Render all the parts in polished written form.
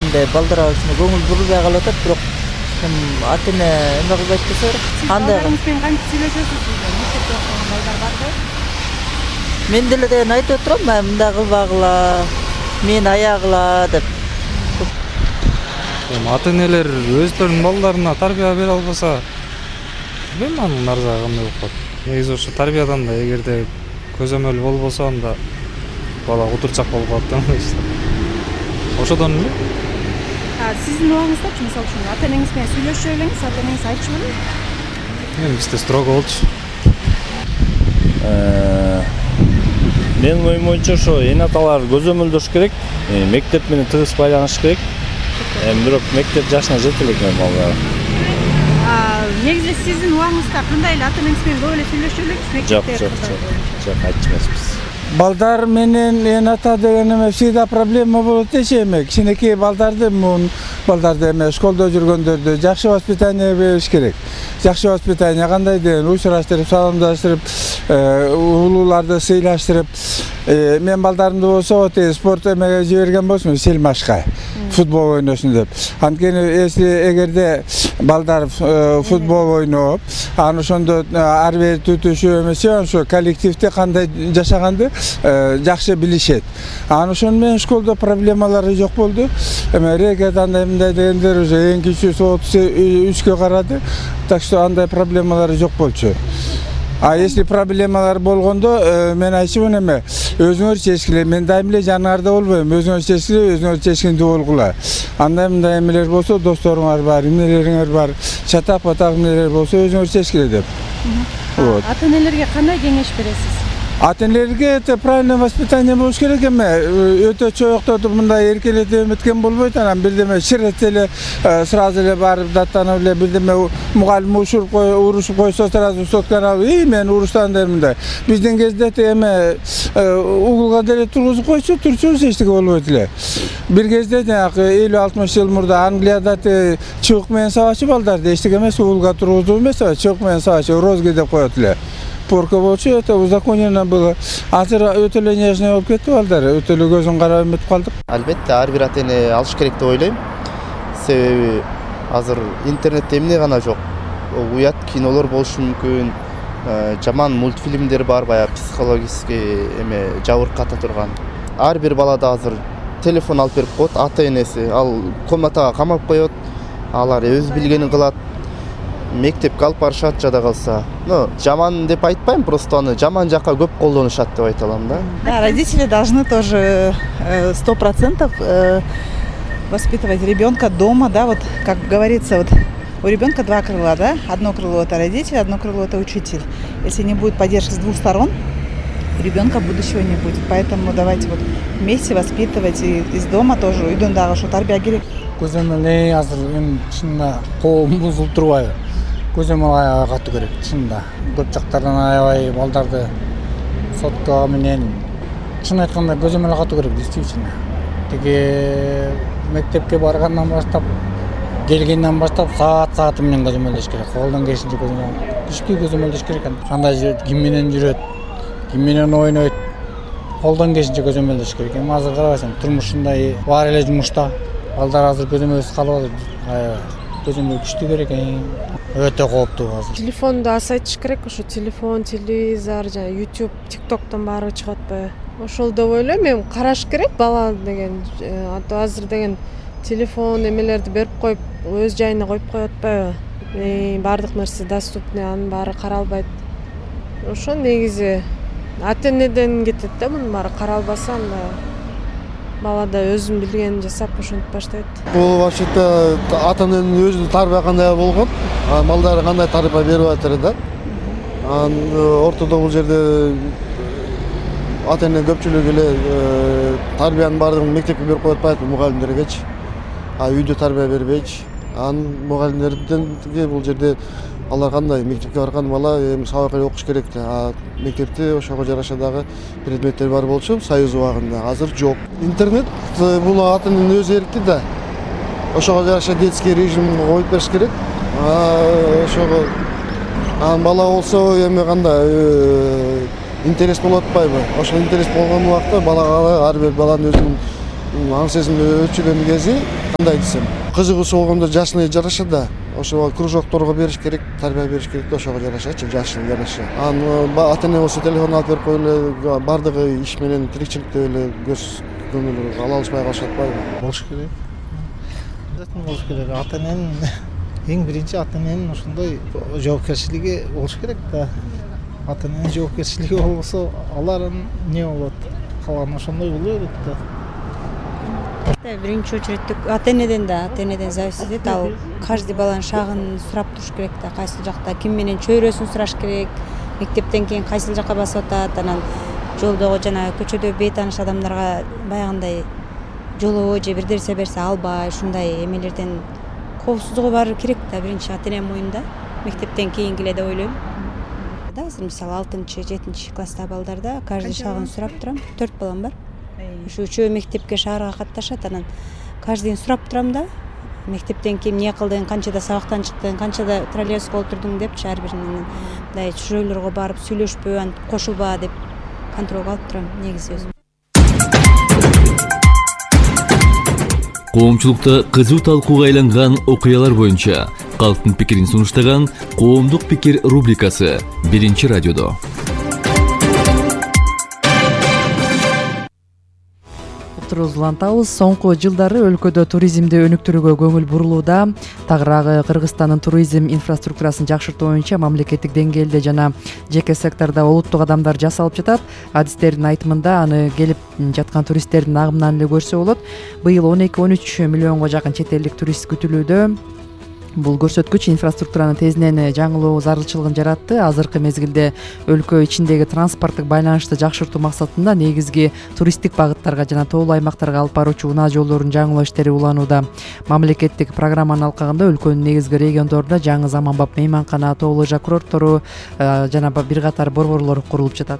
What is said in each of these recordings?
мындай балдарга ушуну көңүл бурбай калып атат, бирок ата эне эме кылбайт десе, андай балдарыңыз менен кантип сүйлөшөсүз? Мектепте окуган балдар барбы? мен деле деген айтып отурам, мындай кылбагыла, мени аягыла деп. Ата энелер өздөрүнүн балдарына тарбия бере албаса, билбейм анын арзагы кандай болуп калат. Негизи ошо тарбиядан да эгерде көзөмөл болбосо, анда бала утурчак болуп калат да мындай. Ошодон эле. Сиздин убагыңыздачы, мисалы үчүн ата энеңиз менен сүйлөшүп элеңиз, ата энеңиз айтчыбы? Эми бизде строго болчу. Менин оюм боюнча ошо эне аталар көзөмөлдөш керек, мектеп менен тыгыз байланыш керек. Бирок мектеп жашына жете элек балдар. Негизи сиздин убагыңызда кандай эле ата энеңиз менен көп эле сүйлөшүп элеңиз мектепте? Жок, айтчу эмеспиз. Балдар менен эне ата деген эме всегда проблема болот дешем, кичинекей балдарды эме школдо жүргөндөрдү жакшы воспитание бериш керек. Жакшы воспитание кандай деген учураштырып, саламдаштырып, улууларды сыйлаштырып, мен балдарымды болсо спорт эмеге жиберген болсун, сельмашка, футбол ойносун деп. Анткени эгерде балдар футбол ойноп, аны ошондо ар бир түтүшүп эмесе, ошо коллективде кандай жашаганды жакшы билишет. Аны ошону менен школдо проблемалары жок болду. Эме рекет андай мындай дегендер уже эң кичүүсү 33-кө карады. Так что андай проблемалары жок болчу. Если проблемалар болгондо мен айтчумун эме өзүңөр чечкиле, мен дайым эле жаныңарда болбойм, өзүңөр чечкиле, өзүңөр чечкиндүү болгула. Андай мындай эмелер болсо, досторуңар бар, эмнелериңер бар, чатак-патак эмнелер болсо өзүңөр чечкиле деп. Вот. Ата энелерге кандай кеңеш бересиз? Ата энелерге это правильное воспитание болуш керек эме. Өтө чоюктотуп мындай эркелетип эметкен болбойт, анан бирдеме ширет эле сразу эле барып даттанып эле бирдеме мугалим урушуп койсо сразу сотканы алып, мен уруштан деп мындай. Биздин кезде эме угулга деле тургузуп койчу, турчубуз эчтеке болбойт эле. Бир кезде 50-60 жыл мурда Англияда чыбык менен сабачы балдарды эчтеке эмес, угулга тургузуп эмес, чыбык менен сабачы розги деп коет эле. Порка болчу, это узаконено было. Азыр өтө эле нежный болуп кетти балдар, өтө эле көзүн карап эметип калдык. Албетте, ар бир ата эне алыш керек деп ойлойм. Себеби азыр интернетте эмне гана жок. Уят кинолор болушу мүмкүн, жаман мультфильмдер бар, баягы психологический эме жабырката турган. Ар бир балада азыр телефон алып берип коет ата энеси, ал комнатага камап коет, алар өз билгенин кылат. Мектепке алып барышат жада калса. Жаман деп айтпайм, просто аны жаман жакка көп колдонушат деп айта алам да. Да, родители должны тоже 100% воспитывать ребенка дома, да, вот как говорится, вот у ребенка два крыла, да, одно крыло это родитель, одно крыло это учитель. Если не будет поддержки с двух сторон, у ребенка будущего не будет. Поэтому давайте вот вместе воспитывать и из дома тоже, үйдөн дагы ошо тарбия керек. Көзөмөл азыр чынында коом бузулуп турбайбы? Көзөмөл катуу керек, чынында. Көп жактардан аябай балдарды сотка менен чын айтканда көзөмөл катуу керек, действительно. Тиги мектепке баргандан баштап, келгенден баштап саат менен көзөмөлдөш керек. Колдон келишинче күчтүү көзөмөлдөш керек. Кандай жүрөт, ким менен жүрөт, ким менен ойнойт, колдон келишинче көзөмөлдөш керек. Эми азыр карабайсың, турмушунда бар эле жумушта. Балдар азыр көзөмөлсүз калып атат. Көзөмөл күчтүү керек, өтө кооптуу азыр. Телефонду азайтыш керек, ошо телефон, телевизор, жана YouTube, TikToктон баары чыгып атпайбы? Ошол деп ойлойм, эми караш керек бала деген. Азыр деген телефон эмелерди берип коюп, өз жайына коюп коюп атпайбы? Баардык нерсе доступный, анын баары каралбайт. Ошо негизи ата энеден кетет да, мунун баары каралбаса, анда бала да өзүн билгенин жасап ошентип баштайт. Бул вообще-то ата эненин өзүнүн тарбия кандай болгон, балдары кандай тарбия берип атыр да. Ортодо бул жерде ата эне көпчүлүгү эле тарбиянын баардыгын мектепке берип коюп атпайбы, мугалимдергечи. Үйдө тарбия бербейчи. Мугалимдерден бул жерде алар кандай мектепке барган бала эми сабак эле окуш керек да. Мектепте ошого жараша дагы предметтер бар болчу союз убагында. Азыр жок. Интернет бул ата эненин өз эрки да. Ошого жараша детский режим коюп бериш керек. Ошого бала болсо эми кандай интерес болуп атпайбы? Ошол интерес болгон убакта балага ар бир баланын өзүнүн аң сезими өлчүгөн кези кандай десем, кызыгуусу болгондо жашына жараша да. Ошо кружокторго бериш керек, тарбия бериш керек да, ошого жарашачы, жашына жараша. Ата эне болсо телефон алып берип коюп эле бардыгы иш менен тиричиликте эле көз көңүл ала алышпай калышат атпайбы? Болуш керек. Обязательно болуш керек. Ата эненин эң биринчи ата эненин ошондой жоопкерчилиги болуш керек да. Ата эненин жоопкерчилиги болбосо алар эмне болот? Калган ошондой боло берет да. Биринчи очередте ата энеден зависит этет. Ал каждый баланын шагын сурап туруш керек да, кайсыл жакта ким менен чөйрөсүн сураш керек, мектептен кийин кайсыл жакка басып атат, анан жолдогу жана көчөдө бейтааныш адамдарга баягындай жолоо же бир нерсе берсе албай, ушундай эмелерден коопсуздугу бар керек да, биринчи ата эненин моюнда, мектептен кийинки эле деп ойлойм. Да, азыр мисалы 6-7 класстагы балдарда каждый шагын сурап турам, 4 балам бар. Ушу үчөө мектепке шаарга катташат, анан каждыйын сурап турам да, мектептен кийин эмне кылдың, канчада сабактан чыктың, канчада троллейбуска отурдуң депчи ар биринен мындай чужойлорго барып сүйлөшпө, антип кошулба деп контролго алып турам негизи өзүм. Коомчулукта кызуу талкууга айланган окуялар боюнча калктын пикирин сунуштаган Коомдук пикир рубрикасы биринчи радиодо. Улантабыз. Соңку жылдары өлкөдө туризмди өнүктүрүүгө көңүл бурулууда. Тагыраагы Кыргызстандын туризм инфраструктурасын жакшыртуу боюнча мамлекеттик деңгээлде жана жеке сектордо олуттуу кадамдар жасалып жатат. Адистердин айтымында аны келип жаткан туристтердин агымынан эле көрсө болот. Быйыл 12-13 миллионго жакын чет элдик турист күтүлүүдө. Бул көрсөткүч инфраструктуранын тезинен жаңылуу зарылчылыгын жаратты. Азыркы мезгилде өлкө ичиндеги транспорттук байланышты жакшыртуу максатында негизги туристтик багыттарга жана тоолуу аймактарга алып баруучу унаа жолдорунун жаңылоо иштери уланууда. Мамлекеттик программанын алкагында өлкөнүн негизги региондорунда жаңы заманбап мейманкана, тоолуу жак курорттору жана бир катар борборлор курулуп жатат.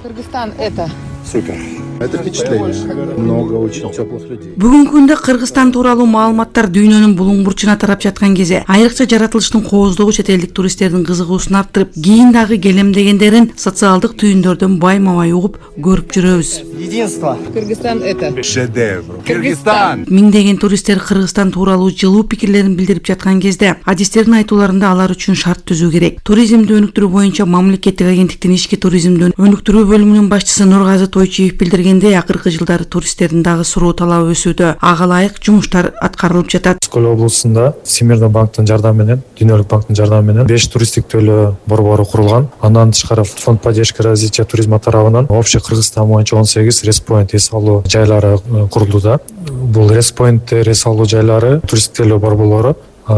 Кыргызстан это Супер. Это впечатление. Много очень теплых людей. Бүгүнкү күндө Кыргызстан тууралуу маалыматтар дүйнөнүн булуң бурчуна тарап жаткан кезде айрыкча жаратылыштын кооздугу чет элдик туристтердин кызыгуусун арттырып, кийин дагы келем дегендерин социалдык түйүндөрдөн байма-бай угуп көрүп жүрөбүз. единство. Кыргызстан это Шедевр. Кыргызстан. Миңдеген туристтер Кыргызстан тууралуу жылуу пикирлерин билдирип жаткан кезде адистердин айтууларында алар үчүн шарт түзүү керек. Туризмди өнүктүрүү боюнча мамлекеттик агенттиктин ички туризмди өнүктүрүү бөлүмүнүн башчысы Нургазы Тойчиев билдиргендей, акыркы жылдары туристтердин дагы суроо талабы өсүүдө. Ага ылайык жумуштар аткарылып жатат. Скөл облусунда Всемирный банктын жардамы менен, Дүйнөлүк банктын жардамы менен 5 туристтик төлөө борбору курулган. Андан тышкары Фонд поддержки развития туризма тарабынан общий Кыргызстан боюнча 18 респоинт эс алуу жайлары курулууда. Бул респоинт эс алуу жайлары туристтик төлөө борборлору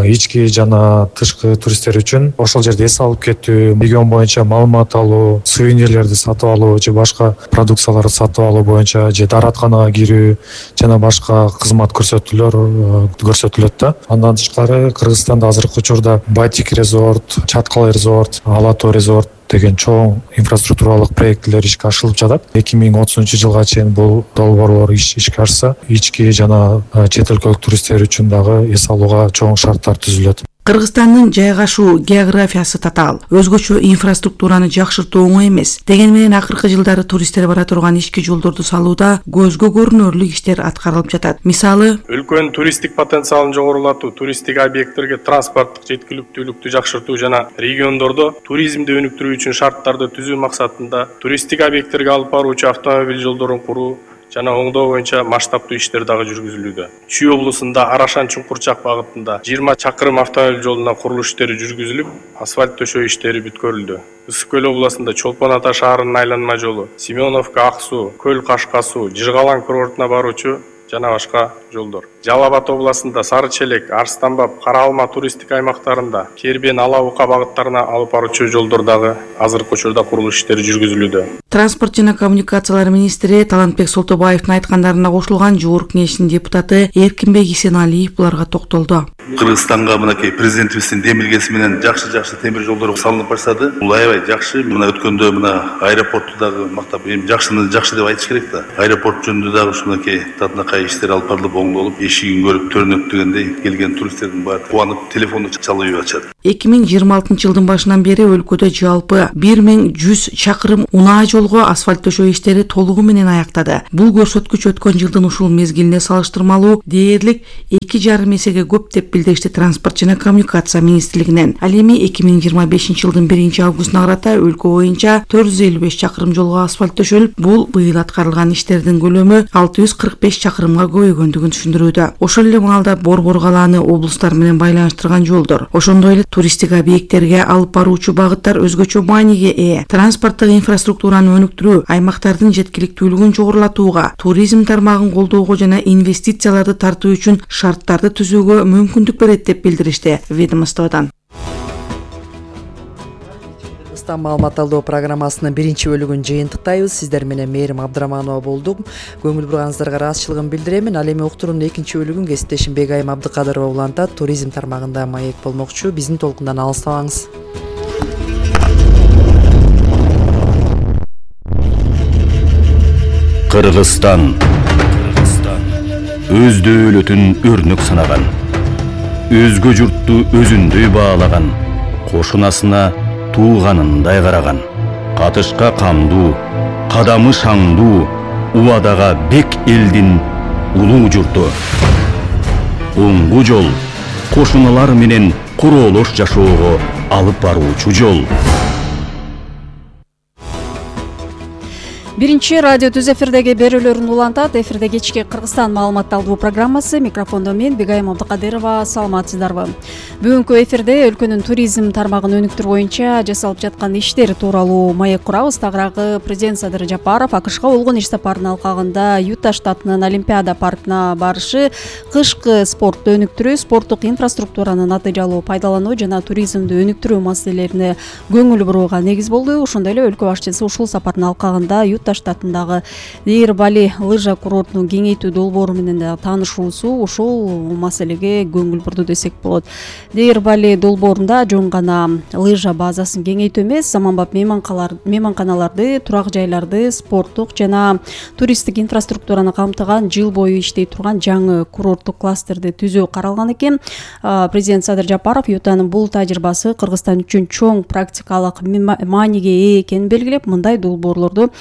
ички жана тышкы туристтер үчүн ошол жерде эс алып кетүү, регион боюнча маалымат алуу, сувенирлерди сатып алуу же башка продукцияларды сатып алуу боюнча же дааратканага кирүү жана башка кызмат көрсөтүлөт да. Андан тышкары Кыргызстанда азыркы учурда Батик резорт, Чаткал резорт, Алатоо резорт деген чоң инфраструктуралык проекттер ишке ашырылып жатат. 2030-жылга чейин бул долбоорлор ишке ашса, ички жана чет өлкөлүк туристтер үчүн дагы эс алууга чоң шарттар түзүлөт. Кыргызстандын жайгашуу географиясы татаал, өзгөчө инфраструктураны жакшыртуу оңой эмес. Дегени менен акыркы жылдары туристтер бара турган ички жолдорду салууда көзгө көрүнөрлүк иштер аткарылып жатат. Мисалы, өлкөнүн туристтик потенциалын жогорулатуу, туристтик объекттерге транспорттук жеткиликтүүлүктү жакшыртуу жана региондордо туризмди өнүктүрүү үчүн шарттарды түзүү максатында туристтик объекттерге алып баруучу автомобиль жолдорун куруу жана оңдоо боюнча масштабтуу иштер дагы жүргүзүлүүдө. Чүй облусунда Арашан-Чуңкурчак багытында 20 чакырым автомобиль жолуна курулуш иштери жүргүзүлүп, асфальт төшөө иштери бүткөрүлдү. Ысык көл областында Чолпон Ата шаарынын айланма жолу, Семеновка Аксуу, Көл Кашкасуу, Жыргалан курортуна баруучу жана башка жолдор. Жалал Абад областында Сары Челек, Арстанбап, Кара Алма туристтик аймактарында Кербен, Ала Ука багыттарына алып баруучу жолдор дагы азыркы учурда курулуш иштери жүргүзүлүүдө. Транспорт жана коммуникациялар министри Талантбек Солтобаевдин айткандарына кошулган Жогорку Кеңештин депутаты Эркинбек Исеналиев буларга токтолду. Кыргызстанга мынакей президентибиздин демилгеси менен жакшы темир жолдор салынып баштады. Бул аябай жакшы. Мына өткөндө мына аэропортту дагы мактап, эми жакшыны жакшы деп айтыш керек да. Аэропорт жөнүндө дагы ушунакей татынакай иштер алып барылып оңдолуп, эшигин көрүп төрүнөт дегендей келген туристтердин баары кубанып телефонду чалып ачат. 2026 жылдын башынан бери өлкөдө жалпы 1100 чакырым унаа жолго асфальт төшөө иштери толугу менен аяктады. Бул көрсөткүч өткөн жылдын ушул мезгилине салыштырмалуу дээрлик 2,5 эсеге көп деп билдиришти Транспорт жана коммуникация министрлигинен. Ал эми 2025 жылдын 1-августуна карата өлкө боюнча 455 чакырым жолго асфальт төшөлүп, бул быйыл аткарылган иштердин көлөмү 645 чакырымга көбөйгөндүгүн түшүндүрүүдө. Ошол эле маалда Борбор калааны облустар менен байланыштырган жолдор, ошондой эле туристтик объекттерге алып баруучу багыттар өзгөчө мааниге ээ. Транспорттук инфраструктураны өнүктүрүү, аймактардын жеткиликтүүлүгүн жогорулатууга, туризм тармагын колдоого жана инвестицияларды тартуу үчүн шарттарды түзүүгө мүмкүндүк берет деп билдиришти ведомстводон. Маалымат алдоо программасынын 1-бөлүгүн жыйынтыктайбыз. Сиздер менен Мээрим Абдыраманова болдук. Көңүл бурганыңыздарга ыраазычылыгын билдирем. Ал эми уктуруунун 2-бөлүгүн кесиптешим Бегайым Абдыкадырова улантат. Туризм тармагында маек болмокчу. Биздин толкундан алыстабаңыз. Кыргызстан өз дөөлөтүн өрнөк санаган, өзгө журтту өзүндөй баалаган, кошунасына тууганындай караган, катышка камдуу, кадамы шаңдуу, убадага бек элдин улуу журту. Оңгу жол, кошуналар менен куроолош жашоого алып баруучу жол. Биринчи радио түз эфирдеги берүүлөрүн улантат. Эфирде кечки Кыргызстан маалымат алдуу программасы. Микрофондо мен Бегайым Абдыкадырова. Саламатсыздарбы? Бүгүнкү эфирде өлкөнүн туризм тармагын өнүктүрүү боюнча жасалып жаткан иштер тууралуу маек курабыз. Тагыраагы президент Садыр Жапаров АКШга болгон иш сапарынын алкагында Юта штатынын Олимпиада паркына барышы, кышкы спортту өнүктүрүү, спорттук инфраструктураны натыйжалуу пайдалануу жана туризмди өнүктүрүү маселелерине көңүл бурууга негиз болду. Ошондой эле өлкө башчысы ушул сапардын алкагында Юта штатындагы Дейр Бали лыжа курортунун кеңейтүү долбоору менен да таанышуусу ушул маселеге көңүл бурду десек болот. Дейр Бали долбоорунда жөн гана лыжа базасын кеңейтүү эмес, заманбап мейманканаларды, турак жайларды, спорттук жана туристтик инфраструктураны камтыган жыл бою иштей турган жаңы курорттук кластерди түзүү каралган экен. Президент Садыр Жапаров Ютанын бул тажрыйбасы Кыргызстан үчүн чоң практикалык мааниге ээ экенин белгилеп, мындай долбоорлорду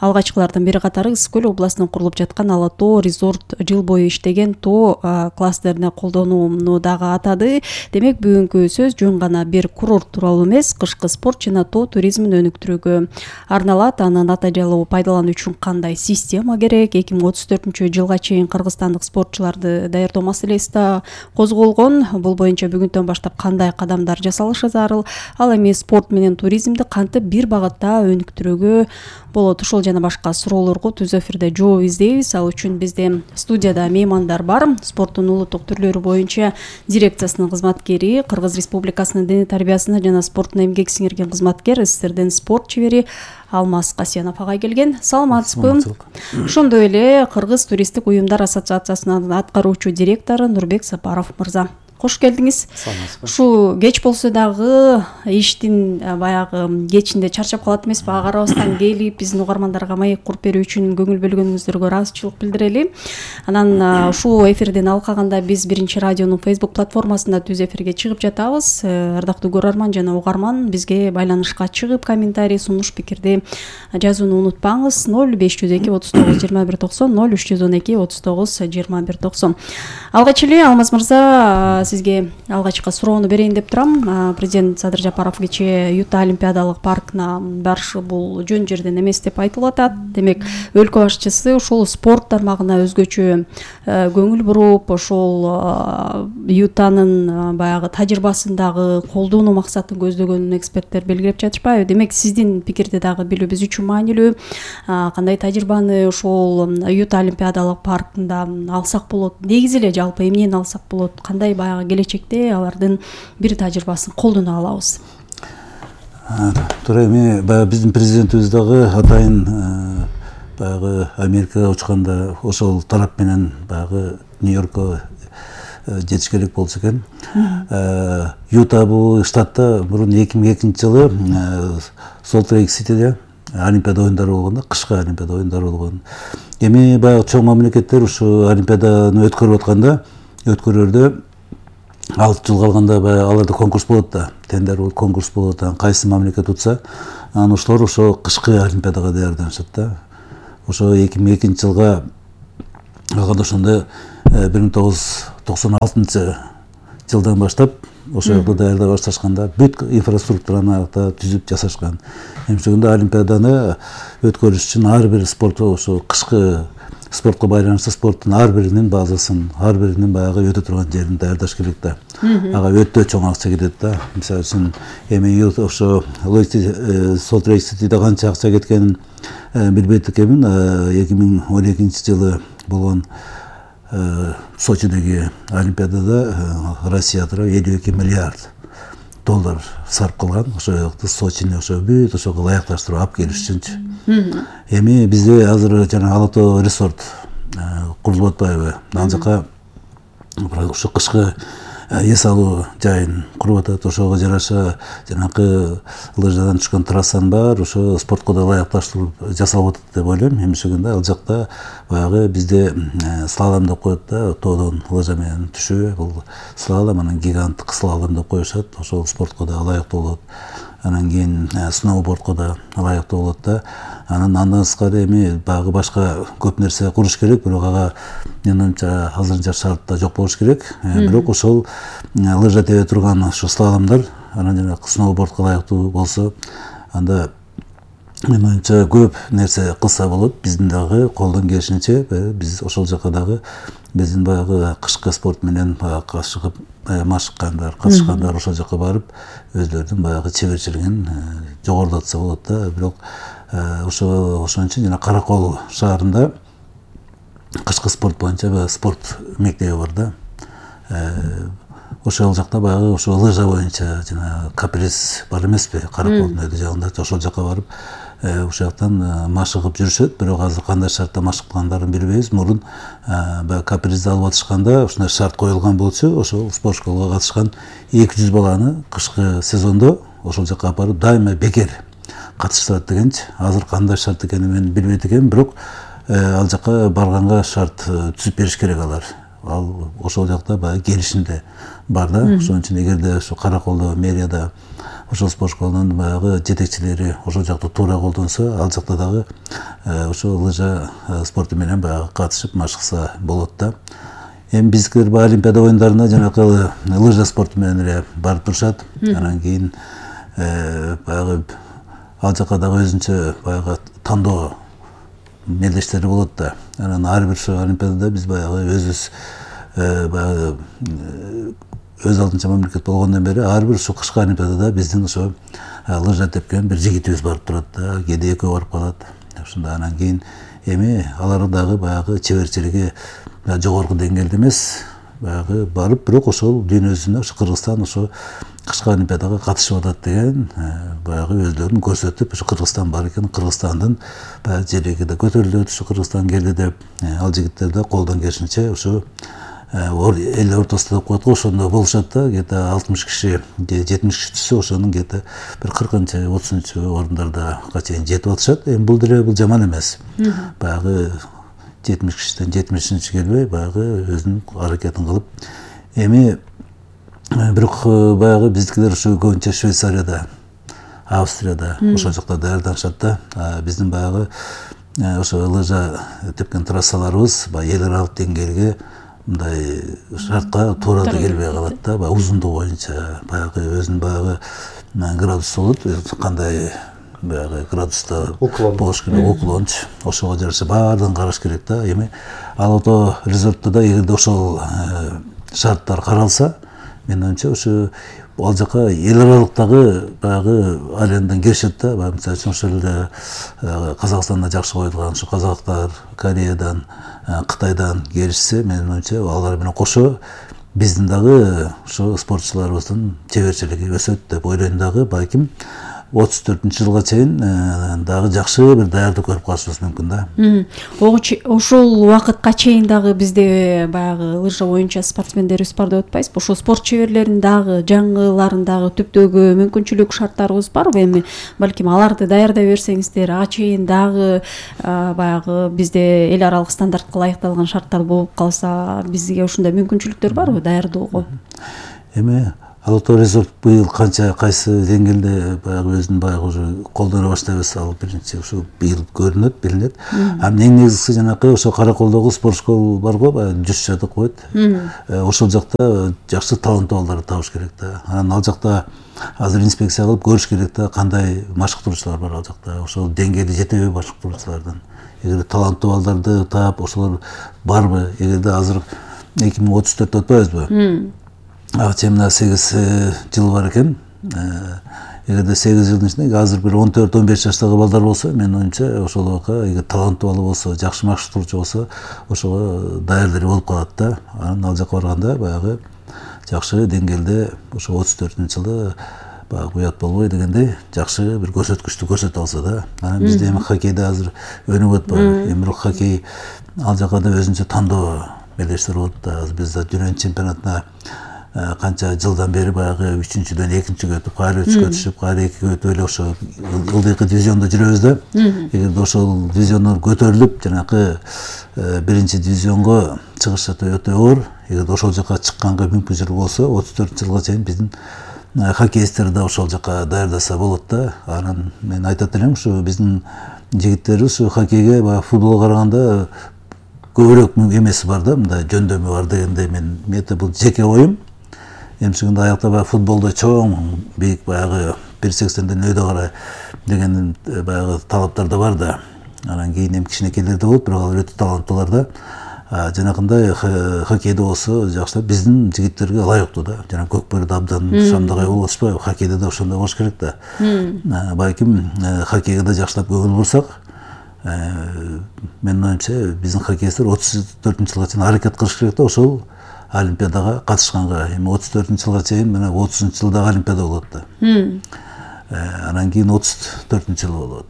алгачкылардын бири катары Ысык Көл областында курулуп жаткан Ала Тоо резорт жыл бою иштеген Тоо кластерине колдонууну дагы атады. Демек, бүгүнкү сөз жөн гана бир курорт тууралуу эмес, кышкы спорт жана Тоо туризмин өнүктүрүүгө арналат. Аны натыйжалуу пайдалануу үчүн кандай система керек? 2034-жылга чейин кыргызстандык спортчуларды даярдоо маселеси да козголгон. Бул боюнча бүгүндөн баштап кандай кадамдар жасалышы зарыл? Ал эми спорт менен туризмди кантип бир багытта өнүктүрүүгө болот? Ушул жана башка суроолорго түз эфирде жооп издейбиз. Ал үчүн бизде студияда меймандар бар. Спорттун улуттук түрлөрү боюнча дирекциясынын кызматкери, Кыргыз Республикасынын дене тарбиясына жана спорттун эмгек сиңирген кызматкер, СССРдин спорт чебери Алмаз Касьянов агай келген. Саламатсызбы? Ошондой эле Кыргыз туристтик уюмдар ассоциациясынын аткаруучу директору Нурбек Сапаров мырза. Кош келдиңиз. Ушу кеч болсо дагы иштин баягы кечинде чарчап калат эмеспи? Ага карабастан келип биздин угармандарга маек куруп берүү үчүн көңүл бөлгөнүңүздөргө ыраазычылык билдирели. Анан ушул эфирдин алкагында биз биринчи радионун Facebook платформасында түз эфирге чыгып жатабыз. Ардактуу көрөрман жана угарман, бизге байланышка чыгып комментарий, сунуш, пикирди жазууну унутпаңыз. 0502 39 21 90 0312 39 21 90. Алгач эле Алмаз мырза, сизге алгачкы суроону берейин деп турам. Президент Садыр Жапаров кечээ Юта Олимпиадалык паркына барышы бул жөн жерден эмес деп айтылып атат. Демек, өлкө башчысы ушул спорт тармагына өзгөчө көңүл буруп, ошол Ютанын баягы тажрыйбасын дагы колдонуу максатын көздөгөнүн эксперттер белгилеп жатышпайбы? Демек, сиздин пикирди дагы билүү биз үчүн маанилүү. Кандай тажрыйбаны ошол Юта Олимпиадалык паркында алсак болот? Негизи эле жалпы эмнени алсак болот? Кандай баягы келечекте алардын бир тажрыйбасын колдоно алабыз? Туура, эми баягы биздин президентибиз дагы атайын баягы Америкага учканда ошол тарап менен баягы Нью-Йоркко жетиш керек болчу экен. Юта бул штатта мурун 2002 жылы Солт-Лейк Ситиде Олимпиада оюндары болгондо, кышкы Олимпиада оюндары болгон. Эми баягы чоң мамлекеттер ушу Олимпиаданы өткөрүп атканда, өткөрөрдө 6 жыл калганда баягы аларда конкурс болот да, тендер болот, конкурс болот. Кайсы мамлекет утса, анан ошолор ошо кышкы Олимпиадага даярданышат да. Ошо 2002 жылга алганда ошондо 1996 жылдан баштап ошол жакта даярдай башташканда бүт инфраструктураны алакта түзүп жасашкан. Эмчегинде Олимпиаданы өткөрүш үчүн ар бир спорт ошо кышкы спортко байланыштуу спорттун ар биринин базасын, ар биринин баягы өтө турган жерин даярдаш керек да. Ага өтө чоң акча кетет да. Мисалы үчүн эми ошо Солт-Лейк Ситиде канча акча кеткенин билбейт экенмин. 2012 жылы болгон Сочидеги Олимпиадада Россия тарабы 52 миллиард доллар сарп кылган. Ошо жакты Сочини ошо бүт ошого ылайыкташтырып алып келиш үчүнчү. Эми бизде азыр жана Алатоо резорт курулуп атпайбы? Ал жака ошо кышкы эс алуу жайын куруп атат. Ошого жараша жанакы лыжадан түшкөн трассанын баары ошо спортко да ылайыкташтырып жасалып атат деп ойлойм. Эмчегинде ал жакта баягы бизде слалом деп коет да, тоодон лыжа менен түшүү. Бул слалом, анан гиганттык слалом деп коюшат. Ошол спортко да ылайыктуу болот. Анан кийин сноубордко да ылайыктуу болот да. Андан сырткары эми баягы башка көп нерсе куруш керек, бирок ага менимче азырынча шартта жок болуш керек. Бирок ошол лыжа тебе турган ошо слаломдор анан жана сноубордко ылайыктуу болсо, анда менимче көп нерсе кылса болот. Биздин дагы колдон келишинче биз ошол жака дагы биздин баягы кышкы спорт менен кашыгып машыккандар, катышкандар ошол жака барып өзлөрүнүн баягы чеберчилигин жогорулатса болот да. Бирок ошон үчүн жана Каракол шаарында кышкы спорт боюнча спорт мектеби бар да. Ошол жакта баягы ошо лыжа боюнча жана каприз бар эмеспи, Караколдун өйдө жагында, ошол жака барып ошол жактан машыгып жүрүшөт. Бирок азыр кандай шартта машыккандарын билбейбиз. Мурун баягы капризди алып атышканда ушундай шарт коюлган болчу. Ошол спорт школага катышкан 200 баланы кышкы сезондо ошол жака апарып дайыма бекер катыштырат дегенчи. Азыр кандай шарт экенин мен билбейт экенмин, бирок ал жака барганга шарт түзүп бериш керек алар. Ал ошол жакта баягы келишимде бар да. Ошон үчүн эгерде ошо Караколдо мэрияда ошол спорт школунун баягы жетекчилери ошол жакты туура колдонсо, ал жакта дагы ошо лыжа спорту менен баягы катышып машыкса болот да. Эми биздикилер баягы Олимпиада оюндарына жанакы лыжа спорту менен эле барып турушат. Анан кийин баягы ал жака дагы өзүнчө баягы тандоо мелдештери болот да. Анан ар бир Олимпиадада биз баягы өзүбүз баягы өз алдынча мамлекет болгондон бери ар бир ушу кышкы Олимпиадада биздин ошо лыжа тепкен бир жигитибиз барып турат да, кээде экөө барып калат. Ошондо анан кийин эми алар дагы баягы чеберчилиги жогорку деңгээлде эмес, баягы барып, бирок ошол дүйнөсүндө ошо Кыргызстан ошо кышкы Олимпиадага катышып атат деген баягы өзлөрүн көрсөтүп, ошо Кыргызстан бар экен, Кыргызстандын баягы желеги да көтөрүлөт, ошо Кыргызстан келди деп ал жигиттер да колдон келишинче ошо эл ортосунда деп коет го, ошондо болушат да. Где-то 60 киши, 70 киши түшсө, ошонун где-то бир 40-30 орундарда чейин жетип атышат. Эми бул деле бул жаман эмес. Баягы 70 кишиден 70-чи келбей, баягы өзүнүн аракетин кылып. Эми бирок баягы биздикилер ушу көбүнчө Швейцарияда, Австрияда ошол жакта даярданышат да. Биздин баягы ошо лыжа тепкен трассаларыбыз баягы эл аралык деңгээлге мындай шартка туура да келбей калат да. Баягы узундугу боюнча баягы өзүнүн баягы градусу болот, кандай баягы градуста болуш керек, уклонч. Ошого жараша баардыгын караш керек да. Эми Алатоо резортто да эгерде ошол шарттар каралса, менин оюмча ошо ал жака эл аралыктагы баягы арендан келишет да. Мисалы үчүн ошол эле Казакстанда жакшы коюлган ошо казактар, Кореядан, Кытайдан келишсе, менин оюмча алар менен кошо биздин дагы ошо спортчуларыбыздын чеберчилиги өсөт деп ойлойм дагы. Балким 34-жылга чейин дагы жакшы бир даярдык көрүп калышыбыз мүмкүн да. Ошол убакытка чейин дагы бизде баягы лыжа боюнча спортсмендерибиз бар деп атпайсызбы? Ошол спорт чеберлеринин дагы жаңыларын дагы түптөөгө мүмкүнчүлүк, шарттарыбыз барбы? Эми балким аларды даярдай берсеңиздер, ага чейин дагы баягы бизде эл аралык стандартка ылайыкталган шарттар болуп калса, бизге ушундай мүмкүнчүлүктөр барбы даярдоого? Эми Ала Тоо резорт быйыл канча кайсы деңгээлде баягы өзүн баягы уже колдоно баштайбыз, ал биринчи ушу быйыл көрүнөт, билинет. Эң негизгиси жанакы ошо Караколдогу спорт школа барго, баягы жүз жадык койот. Ошол жакта жакшы таланттуу балдарды табыш керек да. Анан ал жакта азыр инспекция кылып көрүш керек да, кандай машыктыруучулар бар ал жакта. Ошол деңгээлде жетеби машыктыруучулардан. Эгер таланттуу балдарды таап, ошолор барбы? Эгерде азыр 2034 атпайбызбы? Чейин 8 жыл бар экен. Эгерде 8 жылдын ичинде азыр бир 14-15 жаштагы балдар болсо, менин оюмча ошолорго эгер таланттуу бала болсо, жакшы машыктыруучу болсо, ошого даярдыр болуп калат да. Анан ал жака барганда баягы жакшы деңгээлде ошо 34-жылы баягы уят болбой дегендей жакшы бир көрсөткүчтү көрсөтө алса да. Анан бизде эми хоккейде азыр өнүп атпайбы? Эми бирок хоккей ал жака да өзүнчө тандоо белештер болот да. Азыр биз дүйнө чемпионатына канча жылдан бери баягы 3-дөн 2-го өтүп, кайра 3-кө түшүп, кайра 2-ге өтүп эле ошо ылдыйкы дивизиондо жүрөбүз да. Эгерде ошол дивизиондор көтөрүлүп, жанакы биринчи дивизионго чыгыш өтө оор. Эгерде ошол жака чыкканга мүмкүнчүлүк болсо, 34-жылга чейин биздин хоккеисттер да ошол жака даярдаса болот да. Анан мен айтат элем, ушу биздин жигиттерибиз ушу хоккейге баягы футболго караганда көбүрөөк эмеси бар да, мындай жөндөмү бар дегенде мен бул жеке оюм. Эмчегинде аякта баягы футболдо чоң, бийик баягы 1.80-ден өйдө карай деген баягы талаптар да бар да. Анан кийин эми кичинекейлер да болот, бирок алар өтө таланттуулар да. Жанакындай хоккейде болсо жакшы, биздин жигиттерге ылайыктуу да. Жана Көкбөрүдө абдан шамдагай болуп атышпайбы? Хоккейде да ошондой болуш керек да. Балким хоккейге да жакшылап көңүл бурсак, менин оюмча биздин хоккеисттер 34-жылга чейин аракет кылыш керек да, ошол Олимпиадага катышканга. Эми 34-жылга чейин мына 30-жылдагы Олимпиада болот да. Анан кийин 34-жыл болот.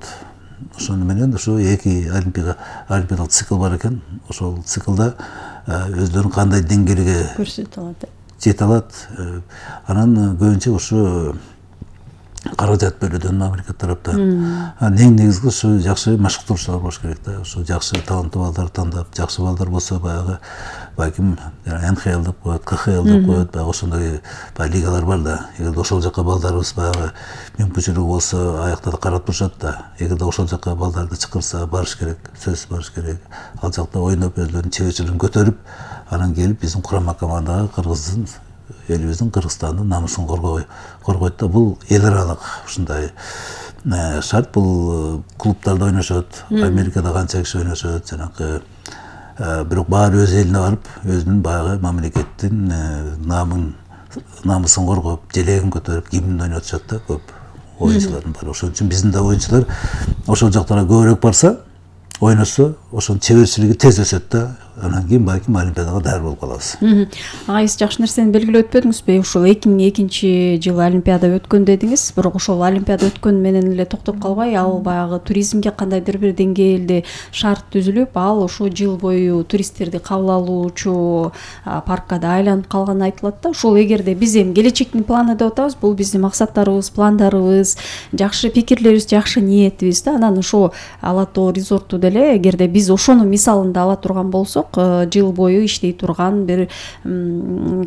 Ошону менен ошо эки олимпиадалык цикл бар экен. Ошол циклда өздөрүн кандай деңгээлге көрсөтө алат. Жете алат. Анан көбүнчө ошо каражат бөлүүдөн мамлекет тараптан. Эң негизги ушу жакшы машыктыруучулар болуш керек да. Ошо жакшы таланттуу балдарды тандап, жакшы балдар болсо баягы балким НХЛ деп коет, КХЛ деп коет, баягы ошондой лигалар бар да. Эгерде ошол жака балдарыбыз баягы мүмкүнчүлүгү болсо, аякта да карап турушат да. Эгерде ошол жака балдарды чакырса барыш керек, сөзсүз барыш керек. Ал жакта ойноп, өздөрүнүн чеберчилигин көтөрүп, анан келип биздин курама командага Кыргыздын элибиздин, Кыргызстандын намысын коргойт да. Бул эл аралык ушундай шарт. Бул клубтарда ойношот, Америкада канча киши ойношот, жанакы бирок баары өз элине барып, өзүнүн баягы мамлекеттин намысын коргоп, желегин көтөрүп, гимн ойнотушат да көп оюнчулардын баары. Ошон үчүн биздин да оюнчулар ошол жактарга көбүрөөк барса, ойношсо, ошонун чеберчилиги тез өсөт да. Анан кийин балким Олимпиадага даяр болуп калабыз. Сиз жакшы нерсени белгилеп өтпөдүңүзбү? Ушул 2002-жылы Олимпиада өткөн дедиңиз, бирок ошол Олимпиада өткөн менен эле токтоп калбай, ал баягы туризмге кандайдыр бир деңгээлде шарт түзүлүп, ал ошо жыл бою туристтерди кабыл алуучу паркка да айланып калганы айтылат да. Ошол эгерде биз эми келечектин планы деп атабыз, бул биздин максаттарыбыз, пландарыбыз, жакшы пикирлерибиз, жакшы ниетибиз да. Анан ошо Ала Тоо резорту деле эгерде биз ошонун мисалында ала турган болсок, жыл бою иштей турган бир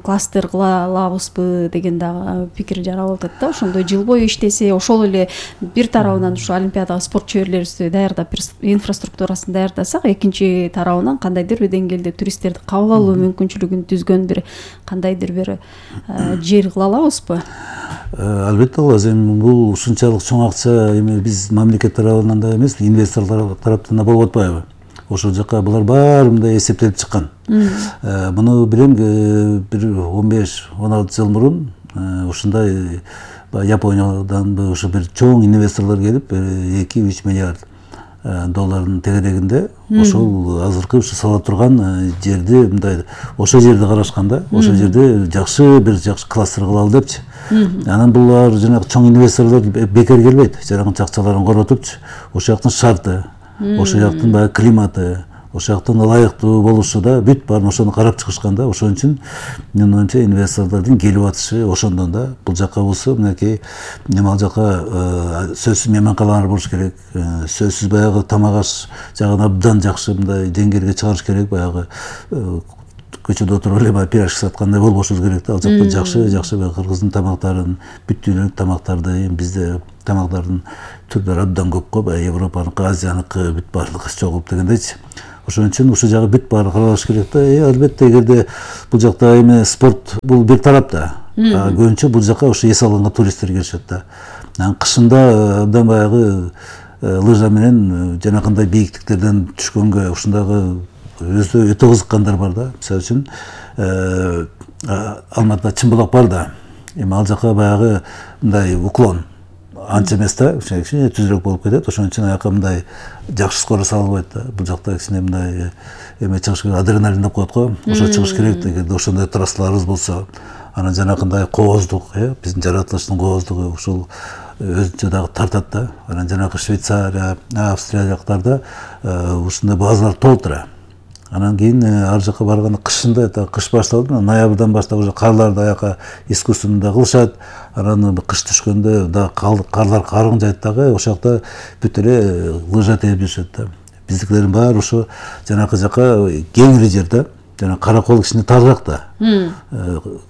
кластер кыла алабызбы деген дагы пикир жаралып атат да. Ошондой жыл бою иштесе, ошол эле бир тарабынан ушу Олимпиадага спорт чеберлерибизди даярдап, инфраструктурасын даярдасак, экинчи тарабынан кандайдыр бир деңгээлде туристтерди кабыл алуу мүмкүнчүлүгүн түзгөн бир кандайдыр бир жер кыла алабызбы? Албетте алабыз. Эми бул ушунчалык чоң акча эми биз мамлекет тарабынан да эмес, инвесторлор тараптан да болуп атпайбы? Ошол жака булар баары мындай эсептелип чыккан. Муну билем, бир 15-16 жыл мурун ушундай Япониядан ушу бир чоң инвесторлор келип 2-3 миллиард доллардын тегерегинде ошол азыркы ушу сала турган жерди мындай ошол жерди карашканда ошол жерде жакшы бир жакшы кластер кылалы депчи. Анан булар жанагы чоң инвесторлор бекер келбейт. Жанагы акчаларын коротупчу ошол жактын шарты, ошол жактын баягы климаты, ошол жактын ылайыктуу болушу да бүт баарын ошону карап чыгышканда, ошон үчүн менин оюмча инвесторлордун келип атышы ошондон да бул жака болсо мынакей ал жака сөзсүз мейманканалар болуш керек, сөзсүз баягы тамак аш жагын абдан жакшы мындай деңгээлге чыгарыш керек, баягы көчөдө отуруп эле баягы пирожки саткандай болбошубуз керек да. Ал жакта жакшы баягы кыргыздын тамактарын, бүт дүйнөлүк тамактарды, бизде тамактардын түрлөрү абдан көп го, баягы Европаныкы, Азияныкы бүт баардыгы чогулуп дегендейчи. Ошон үчүн ушул жагы бүт баары каралыш керек да. Албетте эгерде бул жакта эме спорт бул бир тарап да. Көбүнчө бул жака ошо эс алганга туристтер келишет да. Анан кышында абдан баягы лыжа менен жанакындай бийиктиктерден түшкөнгө ушундагы өтө кызыккандар бар да. Мисалы үчүн Алматыда Чымбулак бар да. Эми ал жака баягы мындай уклон анча эмес да, кичине түзүрөөк болуп кетет. Ошон үчүн аяка мындай жакшы скорость алынбайт да. Бул жакта кичине мындай эме чыгыш керек, адреналин деп коет го. Ошо чыгыш керек да. Эгерде ошондой трассаларыбыз болсо, анан жанакындай кооздук, биздин жаратылыштын кооздугу ушул өзүнчө дагы тартат да. Анан жанагы Швейцария, Австрия жактарда ушундай базалар толтура. Анан кийин ар жака барганда кышында, кыш башталды, ноябрдан баштап уже карларды аяка искусственно кылышат. Анан кыш түшкөндө да карлар карыгын жайт дагы, ошол жакта бүт эле лыжа терип жүрүшөт да. Биздикилердин баары ошо жанакы жака кеңири жер да. Жана каракол кичине тарыраак да.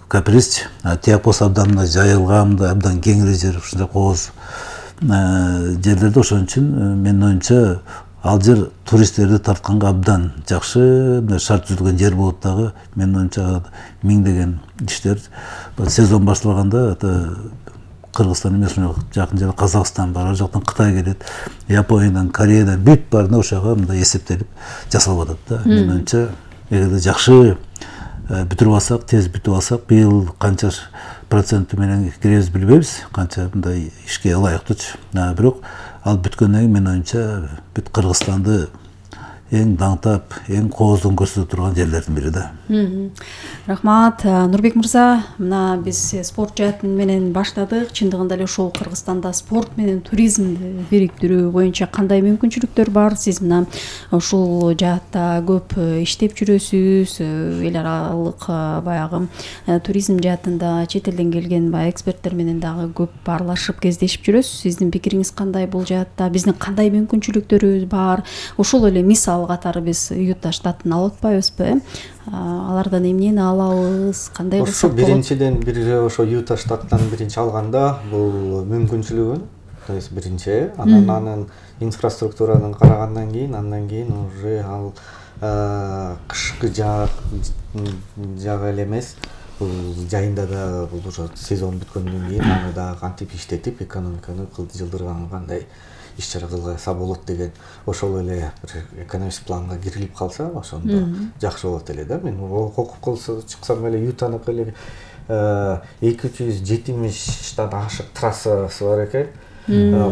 Каприз, тияк болсо абдан мындай жайылган, абдан кеңири жер, ушундай кооз жерлерде. Ошон үчүн менин оюмча ал жер туристтерди тартканга абдан жакшы, шарт түзүлгөн жер болуп дагы. Менин оюмча миңдеген иштер сезон башталганда Кыргызстан эмес, жакын жер Казакстан бар, ар жактан Кытай келет, Япониядан, Кореядан бүт баарына ошого мындай эсептелип жасалып атат да. Менин оюмча эгерде жакшы бүтүрүп алсак, тез бүтүп алсак, быйыл канча проценти менен киребиз билбейбиз, канча мындай ишке ылайыктуучу. Бирок ал бүткөндөн кийин менин оюмча бүт Кыргызстанды эң даңтап, эң кооздугун көрсөтө турган жерлердин бири да. Рахмат, Нурбек мырза, мына биз спорт жаатын менен баштадык. Чындыгында эле ошол Кыргызстанда спорт менен туризмди бириктирүү боюнча кандай мүмкүнчүлүктөр бар? Сиз мына ушул жаатта көп иштеп жүрөсүз, эл аралык баягы туризм жаатында чет элден келген баягы эксперттер менен дагы көп аралашып кездешип жүрөсүз. Сиздин пикириңиз кандай бул жаатта? Биздин кандай мүмкүнчүлүктөрүбүз бар? Ошол эле мисал катары биз Юта штатын алып атпайбызбы? Алардан эмнени алабыз, кандай кылсак болот? Биринчиден ошо Юта штаттан биринчи алганда бул мүмкүнчүлүгүн, то есть биринчи, анан инфраструктурадан карагандан кийин, андан кийин уже ал кышкы жагы эле эмес, бул жайында да бул уже сезон бүткөндөн кийин аны да кантип иштетип экономиканы жылдырганга кандай иш-чара кылса болот деген ошол эле экономист планга кирилип калса, ошондо жакшы болот эле да. Мен окуп чыксам эле Ютаныкы эле 270тан ашык трассасы бар экен.